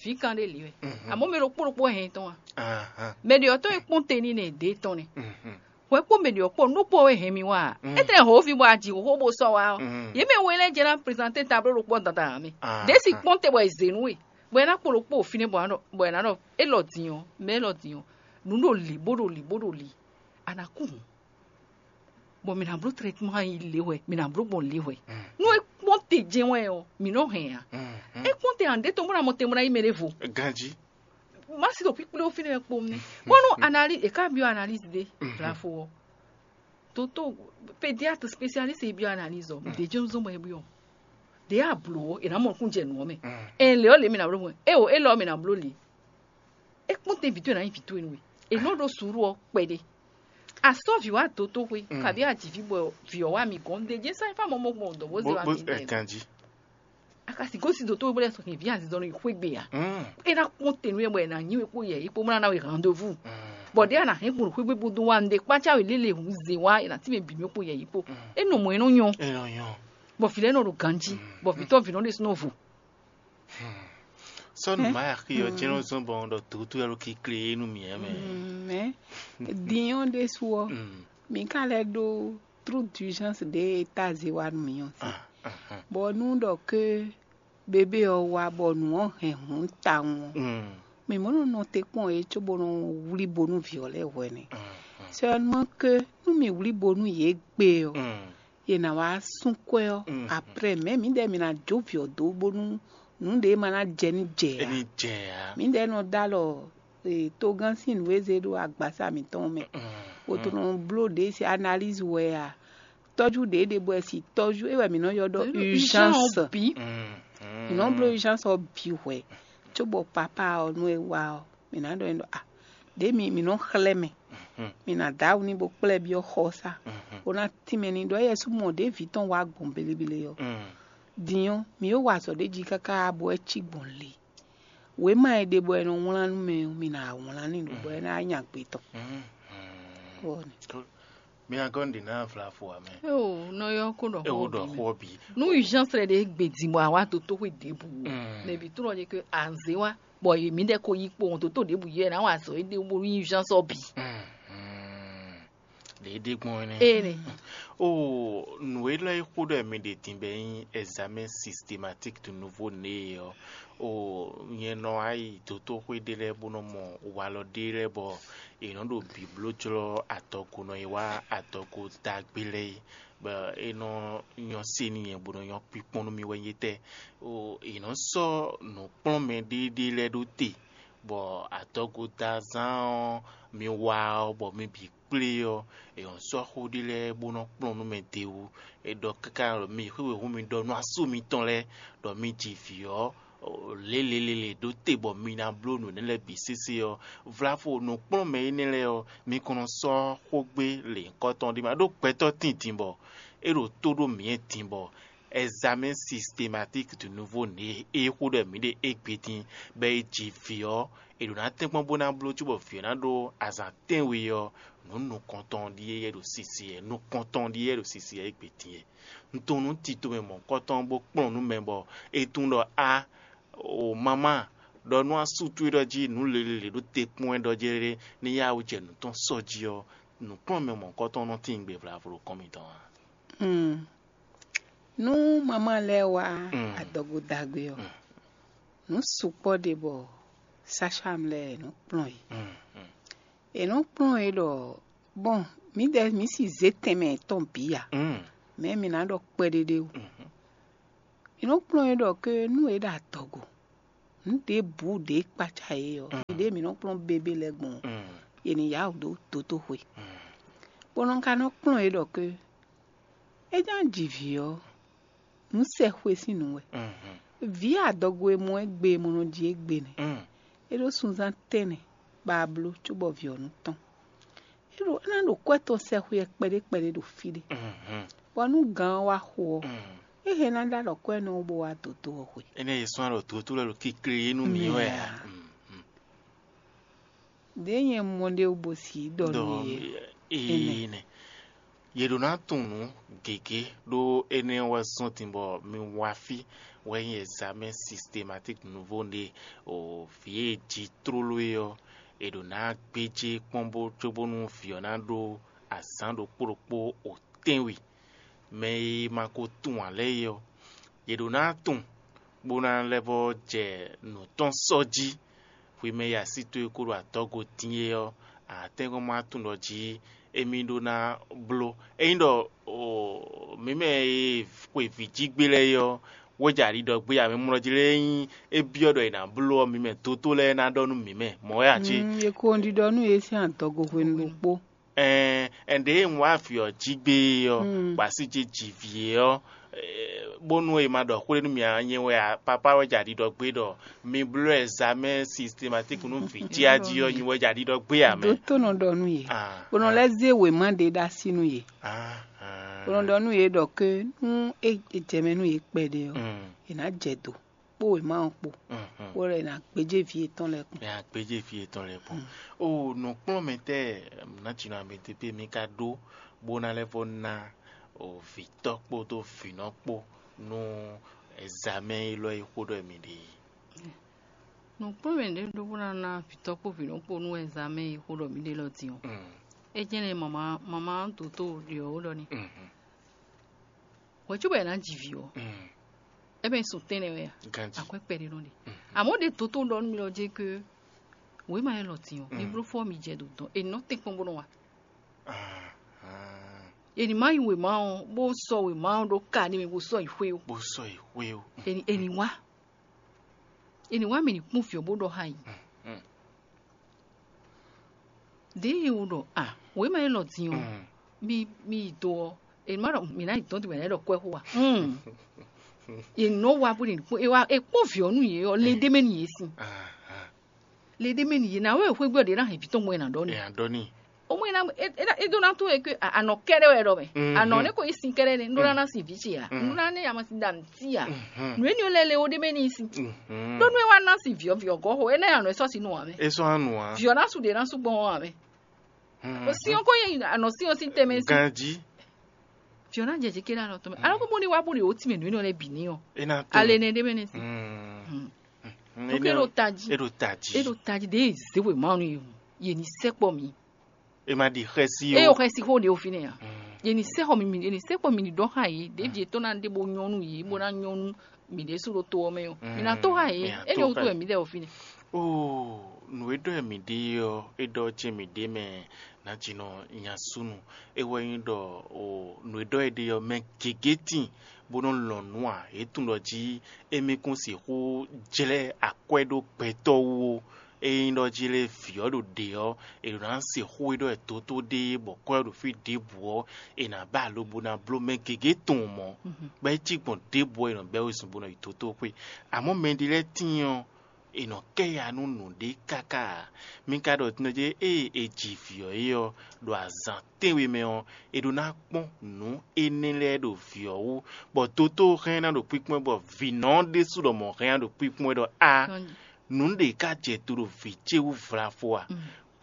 Vǐ kan ɖé lě wɛ. Àmọ́ mɛ ɖokpó ɖokpó wɛ hɛn tɔn a? Ahan. Mɛ ɖě ɔ́ tɔn e kpɔ́n te n'i nɛ ɖě tɔn nɛ. Mhm. Hwɛ kpó mɛ ɖě ɔ́ kpó nú ɖokpó wɛ hɛn mi wá a? Mm. Étɛ́ hǒ fi bɔ a ji xóxó bó sɔ́ wá ɔ́, Mm. yě mɛ we lɛ́ɛ jɛ ná prezante tablo ɖokpó ɔ́ dandan ǎ mɛ. Ahan. Ɖě si kpɔ́n te bɔ è zě nú we, bɔ è ná kpo ɖokpó ɔ́ fínɛ́ bɔ è ná ɖɔ, bɔ è ná ɖɔ, élɔ́ din ɔ́, mɛ élɔ́ din ɔ́, nǔ ɖo lǐ bó ɖo lǐ bó ɖo lǐ, a nǎ kú hǔn. Bɔ mǐ ná bló trɛtman yi lě hwɛ, mǐ ná bló gbɔn lě hwɛ. Nú é kpɔ́n te jɛ́n wɛ ɔ́, mǐ nɔ hɛn ǎ. É kpɔ́n te ǎ, ɖě tɔn bó ná mɔ te bó ná yí mɛ ɖěvo. Ganjí. Má si ɖo kpíkplé fínɛ́ wɛ kpowun nɛ́. Bónú analyse, è ká byɔ́ analyse ɖé, blafo ɔ́. Toto pédiatre spécialiste e byɔ́ analyse ɔ́, ɖě jɛ́n zɔ́n bɔ é byɔ́. Ɖě a blǒ ɔ́, è nǎ mɔ nukún jɛ nǔ ɔ́ mɛ. Ɛ lě ɔ́ lě mǐ ná bló mɔ, é o, é lɔ ɔ́ mǐ ná bló lě. É kpɔ́n te vǐ towe ná nyí vǐ towe nú we. È nɔ ɖó suúlu ɔ́ kpɛɖé. A sɔ́ vǐ wá dǒ toxo, kabi a ji vǐ bɔ vǐ ɔ́ wá mi gɔ́n ɖe jɛ́n sɛ́n fá mɔ mɔ gbɔn dɔ̌ bó zé wá mi mɛ. Ganjí. A ka si gosín dǒ toxo bó lɛ́ sɔ́ hɛn vǐ azizɔ nɔ yi xwé gbe a? É ná kpɔ́n te nú we bɔ è nǎ nyi we kpó yɛ yi kpó bó ná ná we rendez-vous. Bɔ ɖěe a nǎ hɛn gbɔn ɖo xwé gbe bó dó wá un ɖe kpácá we lélẹ̀ hǔn zé wá è nǎ tín mɛ bǐ mɛ kpó yɛ yi kpó. É nɔ mɔ ɛ nɔ nyɔ́. É nɔ nyɔ́. Bɔ vǐ lɛ́ɛ nɔ ɖo ganjí, bɔ vǐ tɔn vǐ nɔ ɖésú nɔ vo. Sɔ́ nǔ ma axi ɔ́ jɛ́n nɔ zɔ́n bɔ un ɖɔ dǒtú wɛ ɖo kikle é nú mǐ ɛ mɛ. Mɛ din ɔ́ ɖésú ɔ́, mǐ ka lɛ́ ɖó trou d'urgence ɖě e ta zé wá nú mǐ ɔ́ sí. Bɔ nú ɖɔ ke bébé ɔ́ wá bɔ nǔ ɔ́ hɛn hǔn tawun ɔ́, mǐ mɔ nɔ nɔ te kpɔ́n yě cóbó nɔ wlí bo nú vǐ ɔ́ lɛ́ɛ hwɛ nɛ́. Seulement que nú mǐ wlí bo nú yě gbe ɔ́, yě ná wá sú kwɛ́ ɔ́, après mɛ̌ mǐdɛɛ mǐ ná jó vǐ ɔ́ dó bónú nǔ ɖě ma ná jɛ ní jɛ ǎ. Mǐdɛɛ nɔ dó alɔ togán sín nǔ e zé ɖó agbasa mǐtɔn mɛ, bó tó nɔ bló ɖě sín analyse wɛ a, tɔ́jú ɖě ɖe bɔ è si tɔ́jú é wɛ mǐ nɔ ylɔ́ ɖɔ urgence. Mǐ nɔ bló urgence ɔ́ bǐ hwɛ̌, cóbɔ papa ɔ́ nú é wá ɔ́, mǐ ná ɖɔ n'i ɖɔ a ɖě mi mǐ nɔ xlɛ́ mɛ, mǐ ná dó awu n'i bó kplá ɛ byɔ́ xɔsá, bó ná tínmɛ n'i ɖɔ éyɛ́ sú mɔ ɖě vǐ tɔn wá gbɔn belebele ɔ́. Din ɔ́, mǐ e wa azɔ̌ ɖé jí káká bɔ é cí gbɔn le. Wěma e ɖe bɔ è nɔ wlán nú mɛ ɔ́, mi ná wlán n'i ɖo bɔ é ná nya gbe tɔn. Ɔ́ nɛ. Mi ná gɔ́ nǔɖé ná vlavo ǎ mɛ. Eo nɔ yɔ kó ɖɔ É wo ɖɔ xó ɔ́ bǐ. Nú urgence lɛ ɖe gbe din bɔ àwa dó tó xwé ɖěbǔ o. Mɛ bǐ trɔ ɖe ke anzé wá bɔ yě mǐdɛɛ ko yí kpo ɔn dó tó ɖěbǔ yɛ ná wa azɔ̌ éɖée bó nyí urgence ɔ́ bǐ. Ɖě é ɖe gbɔn énɛ́. Ene. O nǔ élɔ́ e xó ɖɔ mi ɖe din bɛ nyí examen systématique de nouveau né ɔ́, o nyɛ nɔ wá yi dotóxwé ɖé lɛ́ɛ bó nɔ mɔ walɔ ɖé lɛ́ɛ bɔ è nɔ ɖo bǐbló jlɔ́ adɔgonɔ e wá adɔgo dagbe lɛ́ɛ é, bɔ é nɔ nyɔ́ se n'i nyɛ bó nɔ nyɔ́ kpíkpɔ́n nú mì wɛ nyí tɛ́. O è nɔ sɔ́ nǔkplɔ́nmɛ ɖéɖé lɛ́ɛ ɖó te bɔ adɔgo da zán ɔ́ mi wá ɔ́ bɔ mi bǐ kplé ɔ́, è nɔ sɔ́ xó ɖé lɛ́ɛ bó nɔ kplɔ́n nú mɛ d'é wú. È ɖɔ káká ɖɔ mi xwé wěhú mi ɖɔ nú asú mitɔn lɛ́ɛ ɖɔ mi ji vǐ ɔ́ lělělélě ɖó te bɔ mi ná bló nǔ énɛ́ lɛ́ɛ bǐ sésé ɔ́, vlavo nǔkplɔ́nmɛ énɛ́ lɛ́ɛ ɔ́, mi kɔn nɔ sɔ́ xógbé lěhunkɔtɔn ɖé ma ɖó gbɛtɔ́ tíndin bɔ é ɖo tó ɖó mǐ din bɔ examen systématique de nouveau né e xó ɖɔ mǐ ɖe égbé dín, bɔ è ji vǐ ɔ́, è ɖǒ ná tɛ́nkpɔ́n bó ná bló cóbɔ vǐ ɔ́ ná ɖó azǎn tɛ́nwe ɔ́, nǔ nukɔntɔn ɖíe yɛ ɖo sisi wɛ, nukɔntɔn ɖíe yɛ ɖo sisi wɛ égbé dín wɛ. Un tunwun nú tito mɛ mɔ̌hunkɔtɔn bó kplɔ́n nú mɛ bɔ è tunwun ɖɔ a o mamá ɖɔ nú asú towe ɖɔ jí nǔ lělélě ɖó te kpɔ́n wɛ ɖɔ jɛ́ ní yá wú jɛ nǔ tɔn sɔ́ jí ɔ́, nǔkplɔ́nmɛ mɔ̌hunkɔtɔn nɔ tín gbe vlavo ɖo kɔn mitɔn ǎ. Nú mamá lɛ́ɛ wá adɔgo dagbe ɔ́, nǔ sukpɔ́ ɖe bɔ Sacham lɛ́ɛ è nɔ́ kplɔ́n yě. Mm, mm, È nɔ́ kplɔ́n yě ɖɔ, bɔn, mǐdɛɛ mǐ si zě tɛnmɛ yětɔn bǐ ǎ. Mm. Mɛ̌ mi ná ɖɔ kpɛɖéɖé ó. Mhm. È nɔ́ kplɔ́n yě ɖɔ ké nú è ɖo adɔgo, nǔ ɖěbǔ ɖě kpácá yě ɔ́, Mm. ɖěɖě mǐ nɔ́ kplɔ́n bébé lɛ́ɛ gbɔn ɔ́, Mm. è nǐ yá wǔ dó dotóxwe. Mm. Bó nɔ́ ka nɔ́ kplɔ́n yě ɖɔ ké é ná ji vǐ ɔ́, nǔ sɛ xwe sín nǔ wɛ. Mhm. Vǐ adɔgo e mɔ ɛ gbe e mɔ nɔ ji égbé nɛ́. Mm. É ɖó sunzán tɛ́nnɛ bɔ a bló cóbɔ vǐ ɔ́ nú tɔn. É ɖo é ná ɖo kwɛ́ tɔn sɛ xwe ɛ kpɛɖé kpɛɖé ɖo fí ɖé. Mhm. Bɔ nú gǎn ɔ́ wá xo ɔ́, Mm. é hɛn ná ɖó alɔ kwɛ́ nɔ wú bó wá dǒdó ɔ́ xwe. Énɛ́ e sɔ́n alɔ dǒdó lɛ́ɛ ɖo kikle yé nú mǐ wɛ a? Mm, mm. Ɖěe nyɛ mɔ ɖé wú bo si ɖɔ nú yě. Énɛ́. Yě ɖó ná tunwun nǔ gěgé ɖó énɛ́ wɛ zɔ́n din bɔ mi wá fí wɛ nyí examen systématique nouveau ɖe o vǐ e ji tlóló é ɔ́, è ɖǒ ná gbéjé kpɔ́n bó cóbónú vǐ ɔ́ ná ɖó azǎn ɖokpó ɖokpó o tɛ́nwe. Mɛ e ma ko tunwun ǎ lɛ́ɛ é ɔ́, yě ɖó ná tunwun bó ná lɛ́ vɔ́ jɛ nǔ tɔn sɔ́ jí. Hwi mɛ e así towe ko ɖo adɔgo din é ɔ́, a tɛ́nkpɔ́n ma tunwun ɖɔ jí émí ɖó ná bló. Ényí ɖɔ mǐ mɛ e xwe vǐ jí gbé lɛ́ɛ é ɔ́, wɛ́ jɛ ali ɖɔ gbé ǎ, mɛ mlɔ́ jí lɛ́ɛ nyí é byɔ́ ɖɔ è nǎ bló ɔ́, mi mɛ dótó lɛ́ɛ ná ɖɔ nú mǐ mɛ, mɔ̌ wɛ a cí? Mm, è ko ɖiɖɔ nú yě sín adɔgo hwenu ɖokpó. Ɛn, ɛn ɖě un wá vǐ ɔ́ jí gbé é ɔ́, Mm. bɔ a sí jí ji vǐ é ɔ́, eh, bónú è ma ɖɔ xwé nú mì ǎ, nyɛ wɛ a, papá wɛ jɛ aɖiɖɔ gbé ɖɔ mi bló ɛzamɛ́ sistematiki nú vǐ jí a jí ɔ́, nyɛ wɛ jɛ aɖiɖɔ gbé ǎ mɛ. Dótó nɔ ɖɔ nú yě, Ah, bó nɔ ah. lɛ́ zé wěma ɖé ɖó así nú yě. Ah, ah. Bó nɔ ɖɔ nú yě ɖɔ ké nú é é jɛ mɛ nú yě kpɛɖé ɔ́, Mm. è nǎ jɛ do kpó wěma ɔ́ kpó, Mhm. bó lɛ́ ná gbéjé vǐ yětɔn lɛ́ɛ kpɔ́n. Nya gbéjé vǐ yětɔn lɛ́ɛ kpɔ́n. Mm. O nǔkplɔ́nmɛtɛ́ nǎjínɔ amɛtepé mi ka ɖó bó ná lɛ́ vɔ́ ná o vǐtɔ́ kpódó vǐnɔ kpó nú ɛzamɛ́ élɔ́ e xó ɖɔ mi ɖe é. Nǔkplɔ́nmɛ ɖě ɖó bó ná ná vǐtɔ́ kpó vǐnɔ kpó nú ɛzamɛ́ e xó ɖɔ mi ɖe lɔ din ɔ́. Mm. É jɛ́n lɛ́ mama mama dǒtó ɖě ɔ́ ɖɔ n'i. Mhm. Hwɛ̌ cóbɔ è nǎ ji vǐ ɔ́, Mm. é mɛ sun tɛ́nɛ wɛ a? Ganji. Akwɛ́ kpɛɖé nɔ ɖe. Mhm. Àmọ́ ɖě dǒtó ɖɔ nú mi lɔ jɛ ké wěma élɔ́ din ɔ́, mi Mm. bló fɔ mi jɛ ɖo dɔn è nɔ tɛ́nkpɔ́n bó nɔ wa. Ah, ah. È ní má yi wěma ɔ́ bó sɔ́ wěma ɔ́ ɖó ka n'i mɛ bó sɔ́ yi xwé ó. Bó sɔ́ yi xwé ó. È ní è ní wá. È ní wá mì ní kpɔ́n vǐ ɔ́ bó ɖɔ xá yě. Mm. Ɖěe è wo ɖɔ a wěma élɔ́ din ɔ́, Mm. mi mi yi do ɔ́, è má ɖɔ mǐ ná yi dɔn din mǐ ná yi ɖɔ kwɛ́ xó a? Mm. È nɔ wá bó ɖe nǔkpɔ́n è wá è kpɔ́n vǐ ɔ́ nú yě ɔ́, le ɖé mɛ nú yě sin. Ah, ah. Le ɖé mɛ nú yě ná wɛ xwé gbé ɔ́ ɖě ná hɛn vǐ tɔn gbɔn è nǎ ɖɔ n'i. Ɛ a ɖɔ n'i. Ó mɔ é ná é é é ɖó ná tó wɛ ké a- anɔ kɛ́ɖɛ́ wɛ ɖɔ mɛ. Mm, Anɔ mm. Nɛ́ ko yí sin kɛ́ɖɛ́ nɛ́ ɖó ná ná sin vǐ ce a? Mm. Ɖó ná nɛ́ yama sin ɖa nǔ tí a? Mhm. Nǔ énɛ́ lɛ́ɛ le ó ɖé mɛ n'i sin. Mhm. Ɖó nú é wá ná sin vǐ ɔ́ vǐ ɔ́ gɔ́ xo énɛ́ anɔ é sɔ́ sin nú ǎ mɛ. É sɔ́ anu ǎ. Vǐ ɔ́ ná su ɖě ná sú gbɔn ɔ́ ǎ mɛ. Mhm. O sin ɔ́ ko yɛ anɔ sin ɔ́ sín tɛnmɛ sin. Ganjí. Vǐ ɔ́ ná jɛ jě ké ɖo alɔ tɔn mɛ. Alɔ kó bó ní wá bó ɖe ó tínmɛ nǔ énɛ́ lɛ́ɛ bǐ ní ɔ́. É ná tó. Ale nɛ́ ɖé mɛ nɛ́ sin. Mm. Mm. Donc é ɖo tají. É ɖo tají. É ɖo tají ɖě zé wěma ɔ́ nú yě hǔn. Yě ní sɛkpɔ mi. E ma ɖi xɛsi eye o. Xɛsi xó ɖe o fínɛ́ a? Yě ní sɛ́ xɔ mi mi yě ní sɛ́ xɔ mi ní ɖɔ xá yě ɖěvi yětɔn ná ɖe bó nyɔ́ nú yě bó ná nyɔ́ nú mǐ ɖésú ɖo to ɔ́ mɛ ɔ́, mǐ ná tó xá yě. Mǐ ná tó xá yě. É nyɔ́ wútu wɛ mǐ ɖɛ o fínɛ́. Oo, nǔ e ɖɔ mǐ ɖe é ɔ́, é ɖɔ jɛ́n mǐ ɖe mɛ ná jinɔ nya súnnu. É wɛ nyí ɖɔ o nǔ e ɖɔ é ɖe ɔ́, mɛ gěgé tíin bó nɔ́ lɔn nǔ ǎ. Yě tunwun ɖɔ jí émí kún sixú jlɛ́ akwɛ́ ɖó gbɛtɔ́ wú ó. Ényí ɖɔ jí lé vǐ ɔ́ ɖo ɖě ɔ́, è nǎ sixú e ɖɔ è dó tó ɖéé bɔ kwɛ́ ɔ́ ɖo fí ɖěbǔ ɔ́, è nǎ ba alo bó ná bló mɛ gěgé tɔn mɔ̌, bɔ é cí gbɔn ɖěbǔ ɔ́, è nɔ bɛ́ wezun bó nɔ yi dotóxwé. Amɔ̌ mɛɖé lɛ́ɛ tíin ɔ́, è nɔ kɛ ya nú nǔɖé káká ǎ. Mi ka ɖɔ din ɔ́ jí ée è ji vǐ ɔ́ é ɔ́, ɖo azǎn tɛ́nwe mɛ ɔ́, è ɖó ná kpɔ́n nǔ énɛ́ lɛ́ɛ ɖo vǐ ɔ́ wú, bɔ dotó hɛn ná ɖo kpíkpɔ́n ɛ, bɔ vǐnɔ ɔ́ ɖésú ɖɔ mɔ̌ hɛn ná ɖo kpíkpɔ́n ɛ ɖɔ á, nǔ ɖě ka jɛ do ɖo vǐ ce wú vlafo a?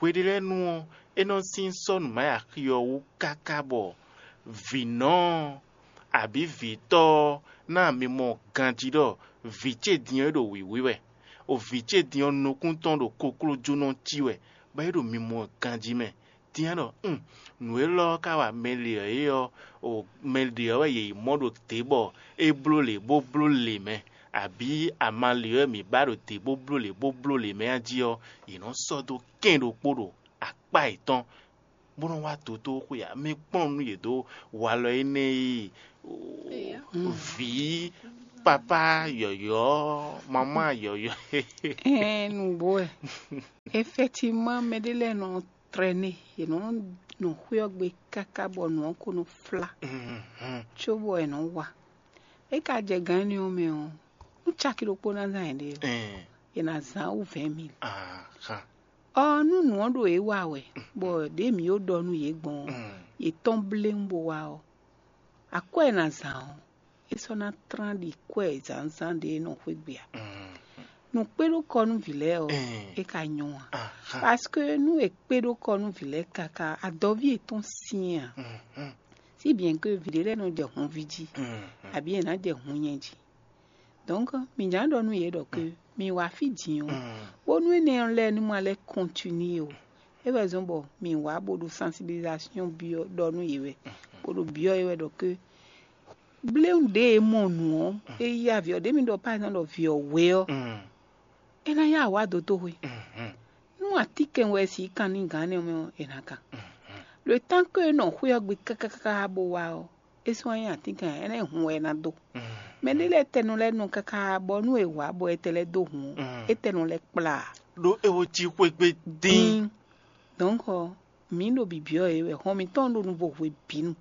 Hweɖélɛ́nu ɔ́, é nɔ sín sɔ́ nǔ ma yi axi ɔ́ wú káká bɔ vǐnɔ ɔ́, abǐ vǐtɔ́ ɔ́ ná mi mɔ ganjí ɖɔ vǐ ce din ɔ́ é ɖo wǐwí wɛ. O vǐ ce din ɔ́ nukún tɔn ɖo koklójónɔ cí wɛ, bɔ é ɖo mimɔ ganjí mɛ. Din ɔ́ ɖɔ, un, nǔ élɔ́ ɔ́ ka wa mɛ lě ɔ́ é ɔ́, o mɛ lě ɔ́ wɛ yě yi mɔ ɖo dě bɔ é bló lě bó bló lě mɛ. abǐ amalě wɛ mǐ ba ɖo te bó bló lě bó bló lě mɛ a jí ɔ́, yě nɔ sɔ́ dó kɛ́n ɖokpó ɖo akpá yětɔn, bó nɔ wá dotóxwé ǎ. Mi kplɔ́n nú yě dó walɔ énɛ́ e vǐ, papá yɔ̌yɔ́, mamá yɔ̌yɔ́. Ɛɛn, nǔgbó wɛ. Effectivement, mɛ ɖé lɛ́ɛ nɔ trɛ́nɛ, yě nɔ nɔ xwé ɔ́ gbe káká bɔ nǔ ɔ́ ko nɔ flá, cóbɔ è nɔ wa. É ka jɛ gǎn énɛ́ ɔ́ mɛ ɔ́, nú caki ɖokpó ná zán yěɖée ɔ́, è nǎ zán wú vɛ̌ɛn mil. Ɔ, nú nǔ ɔ́ ɖo yě wa wɛ, bɔ ɖěe mǐ ko ɖɔ nú yě gbɔn ɔ́, yě tɔ́n bléwún bó wá ɔ́, akwɛ́ e è nǎ zán ɔ́, é sɔ́ ná tlán ɖi kwɛ́ zǎnzǎn ɖě e nɔ xwé gbe ǎ. Nǔ kpé ɖó kɔ nú vǐ lɛ́ɛ ɔ́, é ka nyɔ́ ǎ. Parce que nú è kpé ɖó kɔ nú vǐ lɛ́ɛ káká, adɔví yětɔn syɛ́n ǎ. Si bien que vǐ ɖé lɛ́ɛ nɔ jɛ hunví jí, abǐ è nǎ jɛ hun nyɛ jí. Donc, mǐ jǎn ɖɔ nú yě ɖɔ que mǐ wá fí din ɔ́, bónú énɛ́ ɔ́ lɛ́ɛ ní ma lɛ́ continuer ó, é wɛ zɔ́n bɔ mǐ wá bó ɖo sensibilisation byɔ́ ɖɔ nú yě wɛ, bó ɖo byɔ́ yě wɛ ɖɔ que bléwún ɖě e mɔ nǔ ɔ́, é yí avǐ ɔ́, ɖě mi ɖɔ par exemple ɖɔ vǐ ɔ́ hwe ɔ́, é ná yá wǎ dó toxwe. Nú atínkɛn wɛ si kan n'i gǎn énɛ́ ɔ́ mɛ ɔ́, è nǎ kan. Le temps que é nɔ xwé ɔ́ gbe káká bó wá ɔ́, é sɔ́ nyí atínkɛn ǎ, énɛ́ hun wɛ é ná dó. Mɛ ɖé lɛ́ɛ tɛnɔ lɛ́ɛ nɔ káká bɔ nú è wǎ bɔ è tɛ lɛ́ dó hun ɔ́, é tɛnɔ lɛ́ kplá ǎ. Ɖó é wo cí xwé gbe dín. Dín. Donc, mǐ ɖo bǐbyɔ́ yě wɛ, hɔn mǐtɔn ɖo nuvo hwebǐnu.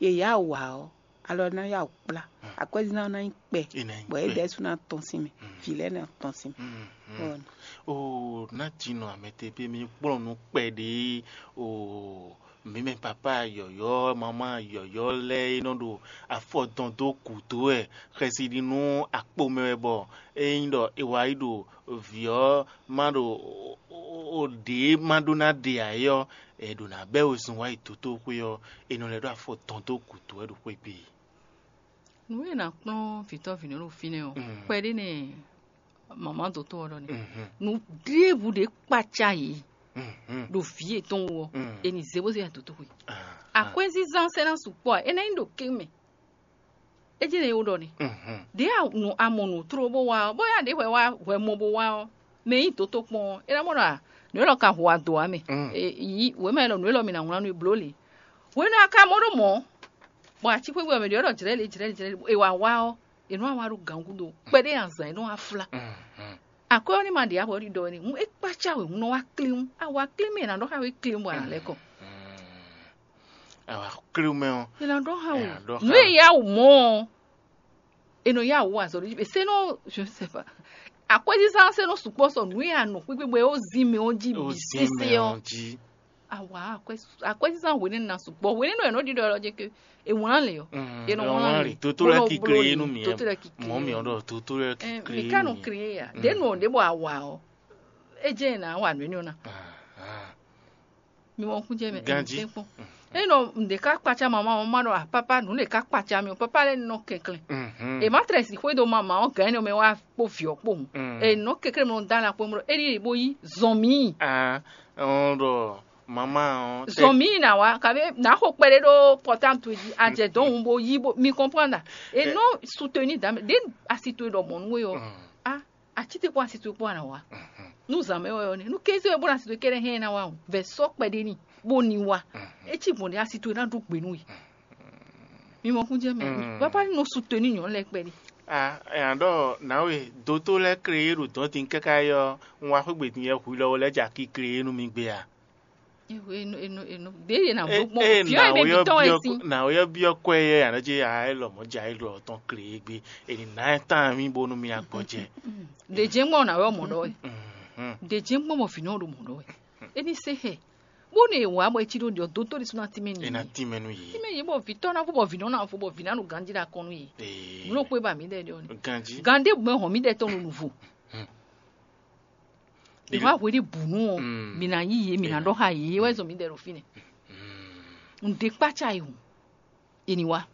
Yě yá wǎ ɔ́, alɔ ná yá wǔ kplá. Akwɛ́zínzán ná nyí kpɛ, bɔ é ɖɛ̌ sú ná tɔ́n sín mɛ, vǐ lɛ́ɛ ná tɔ́n sín mɛ. Oo, ná jinɔ amɛtɛ́ pé mi kplɔ́n nú kpɛɖé. Oo, mǐ mɛ papá yɔ̌yɔ́, mamá yɔ̌yɔ́ lɛ́ɛ e nɔ ɖo afɔ dɔn dó gǔdo wɛ, xɛsi ɖi nú akpo mɛ wɛ, bɔ ényí ɖɔ è wá yi ɖo vǐ ɔ́ ma ɖo ɖě ma ɖó ná ɖe ǎ é ɔ́, è ɖǒ ná bɛ́ wezun wá yi dotóxwé ɔ́, è nɔ lɛ́ ɖó afɔ dɔn dó gǔdo wɛ ɖo xwé gbe. Nǔ e è nǎ kplɔ́n vǐtɔ́ vǐnɔ ɖo fínɛ́ ɔ́, kpɛɖé nɛ mama dotó ɔ́ ɖɔ nɛ́. Nǔ ɖěbǔ ɖě kpaca yě ɖo vǐ yětɔn wú ɔ́, è nǐ zé bó zé adǒtó xwe. Akwɛ́zínzán sɛ́ ná sukpɔ́ ǎ, é ná nyí ɖo kɛ́n mɛ. É jɛ́n é wú ɖɔ nɛ́. Ɖě a nǔ a mɔ nǔ tló bó wá ɔ́, bóyá ɖě hwɛ wá hwɛ mɔ bó wá ɔ́, mɛ e nyí dǒtó kpɔ́n ɔ́, é ná mɔ ɖɔ nǔ élɔ́ ka hu ado ǎ mɛ. Yi wěma élɔ́ nǔ élɔ́ mi ná wlán nú i bló lě. Hwenu e a ka mɔ ɖó mɔ̌, bɔ aci xwé gbe ɔ́ mɛ ɖě ɔ́ ɖɔ jlɛ̌ lě jlɛ̌ lě jlɛ̌ lě, è wǎ wá ɔ́, è nɔ́ wá ɖo gǎngúdo kpɛɖé azǎn e nɔ́ wá flá. Akwɛ́ ɔ́ ní ma ɖe ǎ bɔ é ɖiɖɔ wɛ n'i hǔn é kpácá wěhún nɔ wá klín. Awǎ klín mɛ è nǎ ɖɔ xá wě klín bɔ a nǎ lɛ́ kɔ. Awǎ klín mɛ ɔ́, è nǎ ɖɔ xá wě. Nǔ e yá wǔ mɔ ɔ́, è nɔ yá wǔ azɔ̌ ɖo jí. Sɛ́nɔ, je ne sais pas. Akwɛ́zízá ɔ́ sɛ́nɔ sukpɔ́ sɔ nǔ e a nɔ xwígbe bɔ é ó zín mɛ ɔ́ jí bǐ sésé ɔ́. Awǎ akwɛ́zízá hwenɛ́nu ná sukpɔ́. Hwenɛ́nu wɛ nɔ ɖiɖɔ lɔ jɛ ke è wlán lě ɔ́. È nɔ wlán lě. Dotó lɛ́ɛ ki klé nú mì. Dotó lɛ́ɛ ki klé. Mɔ mì ɔ́ ɖɔ dotó lɛ́ɛ ki klé. Mi ka nɔ klé ya. Ɖě nɔ ɖě bɔ a wa ɔ́, é jẹ́ è nǎ wa nǔ énɛ́ ɔ́ ná. Mi mɔ kún jɛ mɛ. Ganjí. Kpɔn. Eye nɔ ŋɖe ká kpacá mama ɔ́ ma ɖɔ apapa nǔ ɖe ká kpacá mi ɔ́, papa lɛ́ɛ nɔ kɛnklɛn. È má tlɛ si xwé dó mama ɔ́ gǎn énɛ́ mɛ wá kpó vǐ ɔ́ kpó hǔn. È nɔ kɛnklɛn mɔ dá la kpó mɔ ée ní bo yí zɔn mǐ. Ɔn ɖɔ mama ɔ́. Zɔn mǐ ná wá kabe ná xo kpɛɖé ɖó pɔtám towe jí ajɛ dɔn hǔn bo yí bo mi kɔnpɔn ɖa. È nɔ suteni dǎ mɛ ɖě asi towe ɖɔ mɔ̌ nú we ɔ́. A Aci te kpó asi towe kpó a nǎ wá. Nú zǎn mɛ wɛ ɔ́ nɛ́. Nú kéze wɛ bó ná asi towe kɛ́ɖɛ́ hɛn ná wá o. Vɛ sɔ́ kpɛɖé n'i bó ní wá. É cí gbɔn ɖé asi towe ná ɖó gbe nú we. Mi mɔ kún jɛ mɛ. Papa ní nɔ su to ní nyɔ̌nu lɛ́ɛ kpɛɖé. A nya ɖɔ nǎwe dótó lɛ́ɛ klé e ɖo dɔ̌n din káká é ɔ́, un wá xwé gbe din yɛ hu lɔ lɛ́ɛ ja ki klé e nú mi gbé a? Enu enu enu ɖě yě ná bló gbɔn. Fiɔ yě bɛ bi tɔn wɛ si. Nǎwe ɔ́ byɔ́ kwɛ yɛ ǎ nɔ jí a é lɔ mɔ̌ ja é lɔ tɔn klé e gbé. È nǐ ná ɛ tán mì bónú mì agbɔjɛ. Ɖě jɛ́n gbɔn nǎwe ɔ́ mɔ ɖɔ wɛ. Ɖě jɛ́n gbɔn bɔ vǐ nɔ ɖo mɔ ɖɔ wɛ. É ní se xɛ. Bó ne wǎ bɔ é cí ɖó ɖiɔ dótó ɖi sú ná tínmɛ n'i. É ná tínmɛ nú yě. Tínmɛ yě bɔ vǐ tɔ́ ná vo bɔ vǐ nɔ ná vo bɔ vǐ ná ɖo ganjí ɖe akɔn nú yě. Nǔ ɖokpó e ba mǐ ɖe ɖe ɔ́ ni. Ganjí. Gǎn ɖé gbɛ́ hɔn mǐ ɖɛ tɔn ɖo nǔvo. Mǐ wá hwe ɖé bǔ nú ɔ́, mǐ ná yí yě, mǐ ná ɖɔ xá yě, é wɛ zɔn mǐ ɖɛ ɖo fínɛ́. Un ɖe kpácá yi hǔn, è ní wá.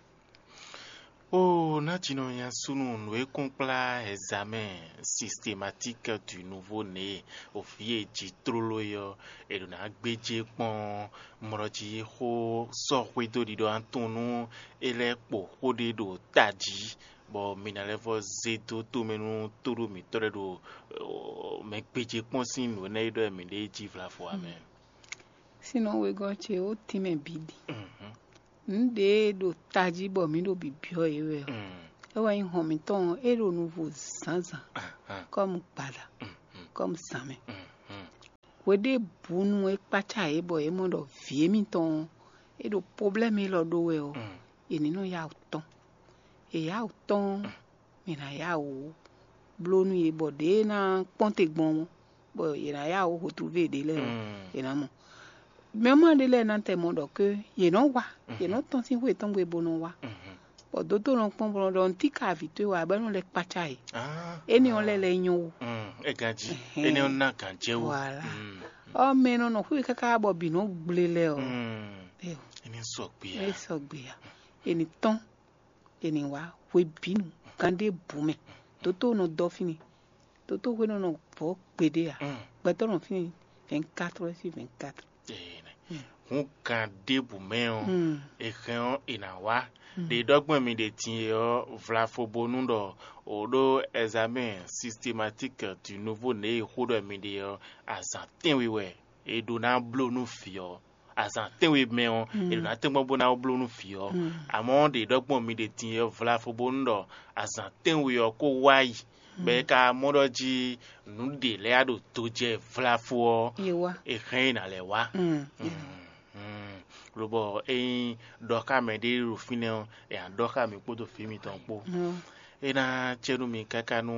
Ó, ná jǐ nɔ nya súnnu nǔ e kún kplá examen systématique du nouveau né, òfí e jí tlóló é ɔ́, è ɖǒ ná gbéjé kpɔ́n mlɔ́ jí xó sɔ́ xwedó ɖiɖɔ atún nú é lɛ́ kpo xó ɖé ɖo tají. bɔ mi ná lɛ́ vɔ zé dó tomɛ nú tóɖó mǐtɔn lɛ́ɛ ɖo mɛ gbéjé kpɔ́n sín nǔ énɛ́ e ɖɔ mǐ ɖe jí vlafo ǎ mɛ. Sínɔ wegɔ́ ce ó tínmɛ bǐ ɖi. Nǔ ɖě e ɖo tají bɔ mǐ ɖo bǐbyɔ́ yě wɛ ɔ́, é wɛ nyí hɔn mǐtɔn ɔ́, é ɖo nuvo zǎnzǎn, kɔ́mu gbada, kɔ́mu zǎnmɛ. Hweɖěbǔnu e kpácá yě bɔ yě mɔ ɖɔ vǐ émítɔn ɔ́, é ɖo poblɛ́mu élɔ́ ɖó wɛ ɔ́, è ní nɔ yá wǔ tɔ́n. È yá wǔ tɔ́n ɔ́, mǐ ná yá wǔ bló nú yě bɔ ɖěe ná kpɔ́n te gbɔn ɔ́, bɔ yě ná yá wǔ hotúvé ɖě lɛ́ɛ ɔ́, yě ná mɔ. Mɛ ma ɖé lɛ́ɛ ná tɛ mɔ ɖɔ ké yě nɔ wa, yě nɔ tɔ́n sín xwé tɔn gbe bó nɔ wa. Bɔ dótó nɔ kpɔ́n bó nɔ ɖɔ nǔtí ka vǐ towe wá bɔ é nɔ lɛ́ kpácá yě. Énɛ́ ɔ́ lɛ́ lɛ́ nyɔ́ wú. É gán jí. Énɛ́ ɔ́ ná gǎn jɛ wú. Voilà. Ɔ mɛ nɔ nɔ xwé káká bɔ bǐ nɔ gblé lɛ ɔ. Eo, É ní sɔgbe ǎ. É sɔgbe ǎ. È ní tɔ́n, è ní wá hwebǐnu gán ɖé bǔ mɛ. Dótó nɔ dɔ fínni. Dótó hwenu nɔ vɔ̌ gbeɖé ǎ. Gbɛtɔ́ nɔ fínni vingt-quatre heures sur vingt-quatre. Hun kan ɖěbǔ mɛ ɔ́, è hɛn ɔ́, è nǎ wá. Ɖě ɖɔgbɔn mi ɖe din e ɔ́, vlafo bónú ɖɔ o ɖó examen systématique du nouveau né e xó ɖɔ mi ɖe ɔ́, azǎn tɛ́nwe wɛ è ɖó ná bló nú vǐ ɔ́. Azǎn tɛ́nwe mɛ ɔ́, è ɖó ná tɛ́nkpɔ́n bó ná bló nú vǐ ɔ́. Amɔ̌ ɖě ɖɔgbɔn mi ɖe din e ɔ́, vlafo bónú ɖɔ azǎn tɛ́nwe ɔ́ kó wá yi, bɔ è ka mɔ ɖɔ jí nǔ ɖě lɛ́ɛ ɖo do jɛ vlafo ɔ́, è hɛn ɛ ná lɛ́ wá. Lobɔ ényí ɖɔ xá mɛ ɖé ɖo fínɛ́ ɔ́, è nǎ ɖɔ xá mi kpódó vǐ mitɔn kpó. É ná cɛ nú mi káká nú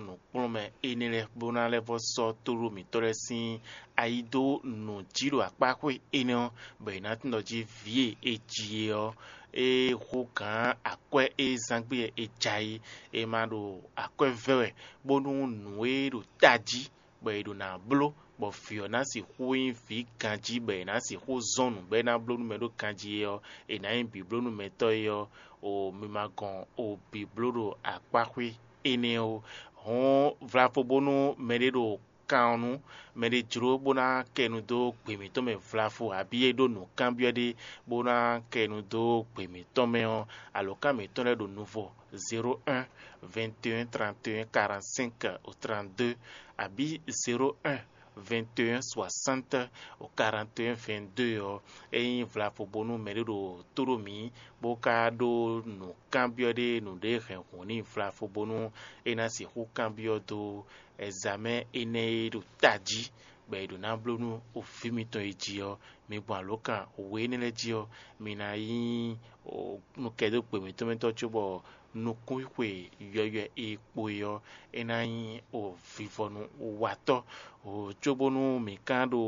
nǔkplɔ́nmɛ énɛ́ lɛ́ɛ bó ná lɛ́ vɔ sɔ́ tóɖó mǐtɔn lɛ́ɛ sín ayi dó nǔ jí ɖo akpáxwé énɛ́ ɔ́, bɔ è nǎ tunwun ɖɔ jí vǐ e è ji é ɔ́, é xú gǎn akwɛ́ e zán gbé è ja é, è ma ɖo akwɛ́ vɛ́ wɛ, bónú nǔ e ɖo tají bɔ è ɖo ná bló, bɔ vǐ ɔ́ ná sixú nyí vǐ ganjí, bɔ è nǎ sixú zɔ́n nǔ bɔ é ná bló nú mɛ ɖó ganjí é ɔ́, è nǎ nyí bǐblónúmɛtɔ́ é ɔ́, o mi ma gɔn o bǐbló ɖo akpáxwé énɛ́ ó. Hɔ̌n vlafo bónú mɛɖé ɖo kan ɔ́ nú mɛɖé jló bó ná kɛ nu dó gbě mǐtɔn mɛ vlafo, abǐ é ɖó nǔkanbyɔ́ ɖé bó ná kɛ nu dó gbě mǐtɔn mɛ ɔ́, alǒkan mǐtɔn lɛ́ɛ ɖo nuvɔ zéro un, vingt et un, trente et un, quarante-cinq au trente-deux, abǐ zéro un, vingt et un, soixante au quarante et un, vingt-deux ɔ́, é nyí vlafo bónú mɛɖé ɖo tó ɖó mǐ, bó ka ɖó nǔkanbyɔ́ ɖé nǔɖé hɛn hǔn n'i vlafo bónú é ná sixú kanbyɔ́ dó ɛzamɛ́ énɛ́ e ɖo tají, bɔ è ɖǒ ná bló nú vǐ mitɔn e jí ɔ́, mi gbɔn alǒkan we énɛ́ lɛ́ɛ jí ɔ́, mi ná nyí nukɛ́dógbe mǐtɔn mɛ tɔn cóbɔ nukúnxwe yɔywɛ e kpo é ɔ́, é ná nyí vivɔnu watɔ́, cóbónú mǐ ka ɖo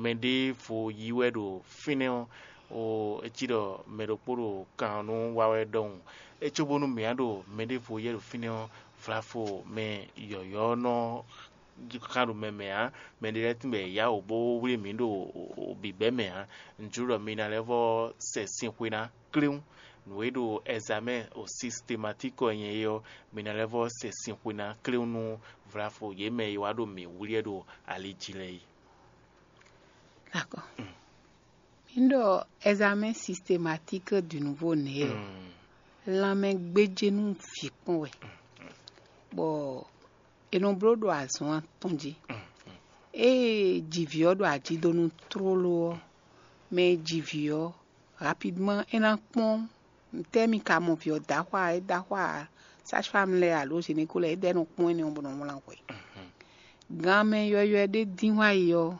mɛɖěvo yí wɛ ɖo fínɛ́ ɔ́, é cí ɖɔ mɛ ɖokpó ɖo kan ɔ́ nú wa wɛ ɖɔhun. É cóbónú mǐ á ɖo mɛɖěvo yɛ ɖo fínɛ́ ɔ́, vlafo mɛ yɔ̌yɔ́ nɔ xá ɖo mɛ mɛ ǎ. Mɛɖé lɛ́ɛ tún bɔ è yá wǔ bó wlí mǐ ɖo bǐbɛ́ mɛ ǎ. Un jló ɖɔ mi ná lɛ́ vɔ́ sɛ sin xwe ná kléwún. Nǔ e ɖo ɛzamɛ́ o sistematiki ɔ́ nyɛ é ɔ́, mi ná lɛ́ vɔ́ sɛ sin xwe ná kléwún nú vlafo yě mɛ e wá ɖo mǐ wlí wɛ ɖo ali jí lɛ́ɛ é. D'accord. Mi ɖɔ examen systématique du nouveau né ɔ́, lanmɛ gbéjé nú vǐ kpɔn wɛ, bɔ è nɔ bló ɖo azɔn atɔn jí. Ée jivǐ ɔ́ ɖo ajidonu tlóló ɔ́, mɛ e ji vǐ ɔ́, rapidement é ná kpɔ́n ntɛ́ mi ka mɔ vǐ ɔ́ dó axwá, é dó axwá sage-femme lɛ́ɛ alo gynéco lɛ́ɛ, é dɛ́ nɔ kpɔ́n énɛ́ ɔ́ bó nɔ wlán hwɛ. Ganmɛ yɔywɛ ɖé dín wá yi ɔ́,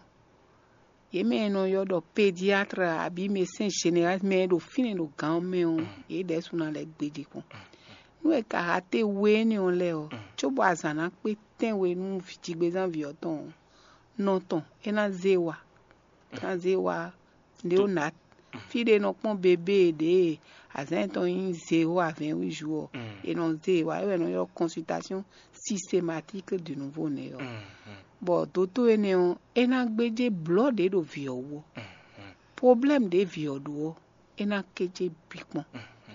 yě mɛ e nɔ ylɔ́ ɖɔ pédiatre abǐ médecin général mɛ e ɖo fínɛ́ ɖo gǎn ɔ́ mɛ ɔ́, yě ɖɛ̌ sú ná lɛ́ gbéjé kpɔ́n. Nú è ka ha té we énɛ́ ɔ́ lɛ́ɛ ɔ́, cóbɔ azǎn ná kpé tɛ́nwe nú jigbezán vǐ ɔ́ tɔn ɔ́, nɔ tɔn é ná zé wa, é ná zé wa ɖě ó ná fí ɖé nɔ kpɔ́n bebé ɖě azǎn yětɔn nyí zéro à vingt-huit jours ɔ́, è nɔ zé wa, é wɛ è nɔ ylɔ́ consultation systématique du nouveau né ɔ́. Bɔ dótó énɛ́ ɔ́, é ná gbéjé blɔ̌ ɖě ɖo vǐ ɔ́ wú ɔ́. Problème ɖě vǐ ɔ́ ɖó ɔ́, é ná kéjé bǐ kpɔ́n.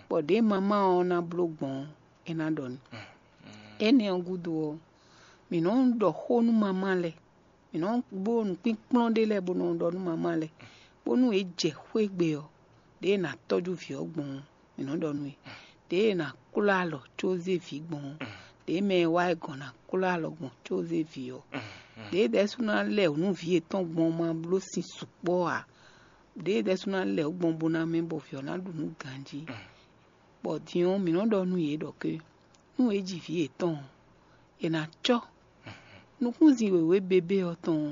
Bɔ ɖěe mamá ɔ́ ná bló gbɔn ɔ́, é ná ɖɔ n'i. Énɛ́ ɔ́ gúdo ɔ́, mǐ nɔ́ ɖɔ xó nú mamá lɛ́ɛ. Mǐ nɔ́ bló nǔkpínkplɔ́n ɖé lɛ́ɛ bó nɔ ɖɔ nú mamá lɛ́ɛ, bónú yě jɛ xwé gbe ɔ́, ɖěe è nǎ tɔ́jú vǐ ɔ́ gbɔn ɔ́, mǐ nɔ́ ɖɔ nú yě. ɖěe è nǎ klɔ́ alɔ có zé vǐ gbɔn ɔ́, ɖěe mɛ e wá yi gɔ̌n ná klɔ́ alɔ gbɔn có zé vǐ ɔ́, ɖěe ɖɛ̌sú ná lɛ nǔ vǐ yětɔn gbɔn ma bló sin sukpɔ́ ǎ, ɖěe ɖɛ̌sú ná lɛ wǔ gbɔn bó ná mɛ bɔ vǐ ɔ́ ná ɖu nǔ ganjí. Bɔ din ɔ́, mǐ nɔ́ ɖɔ nú yě ɖɔ ké nú è ji vǐ yětɔn ɔ́, è nǎ cɔ́ nukúnzin wěwé bébé ɔ́ tɔn ɔ́,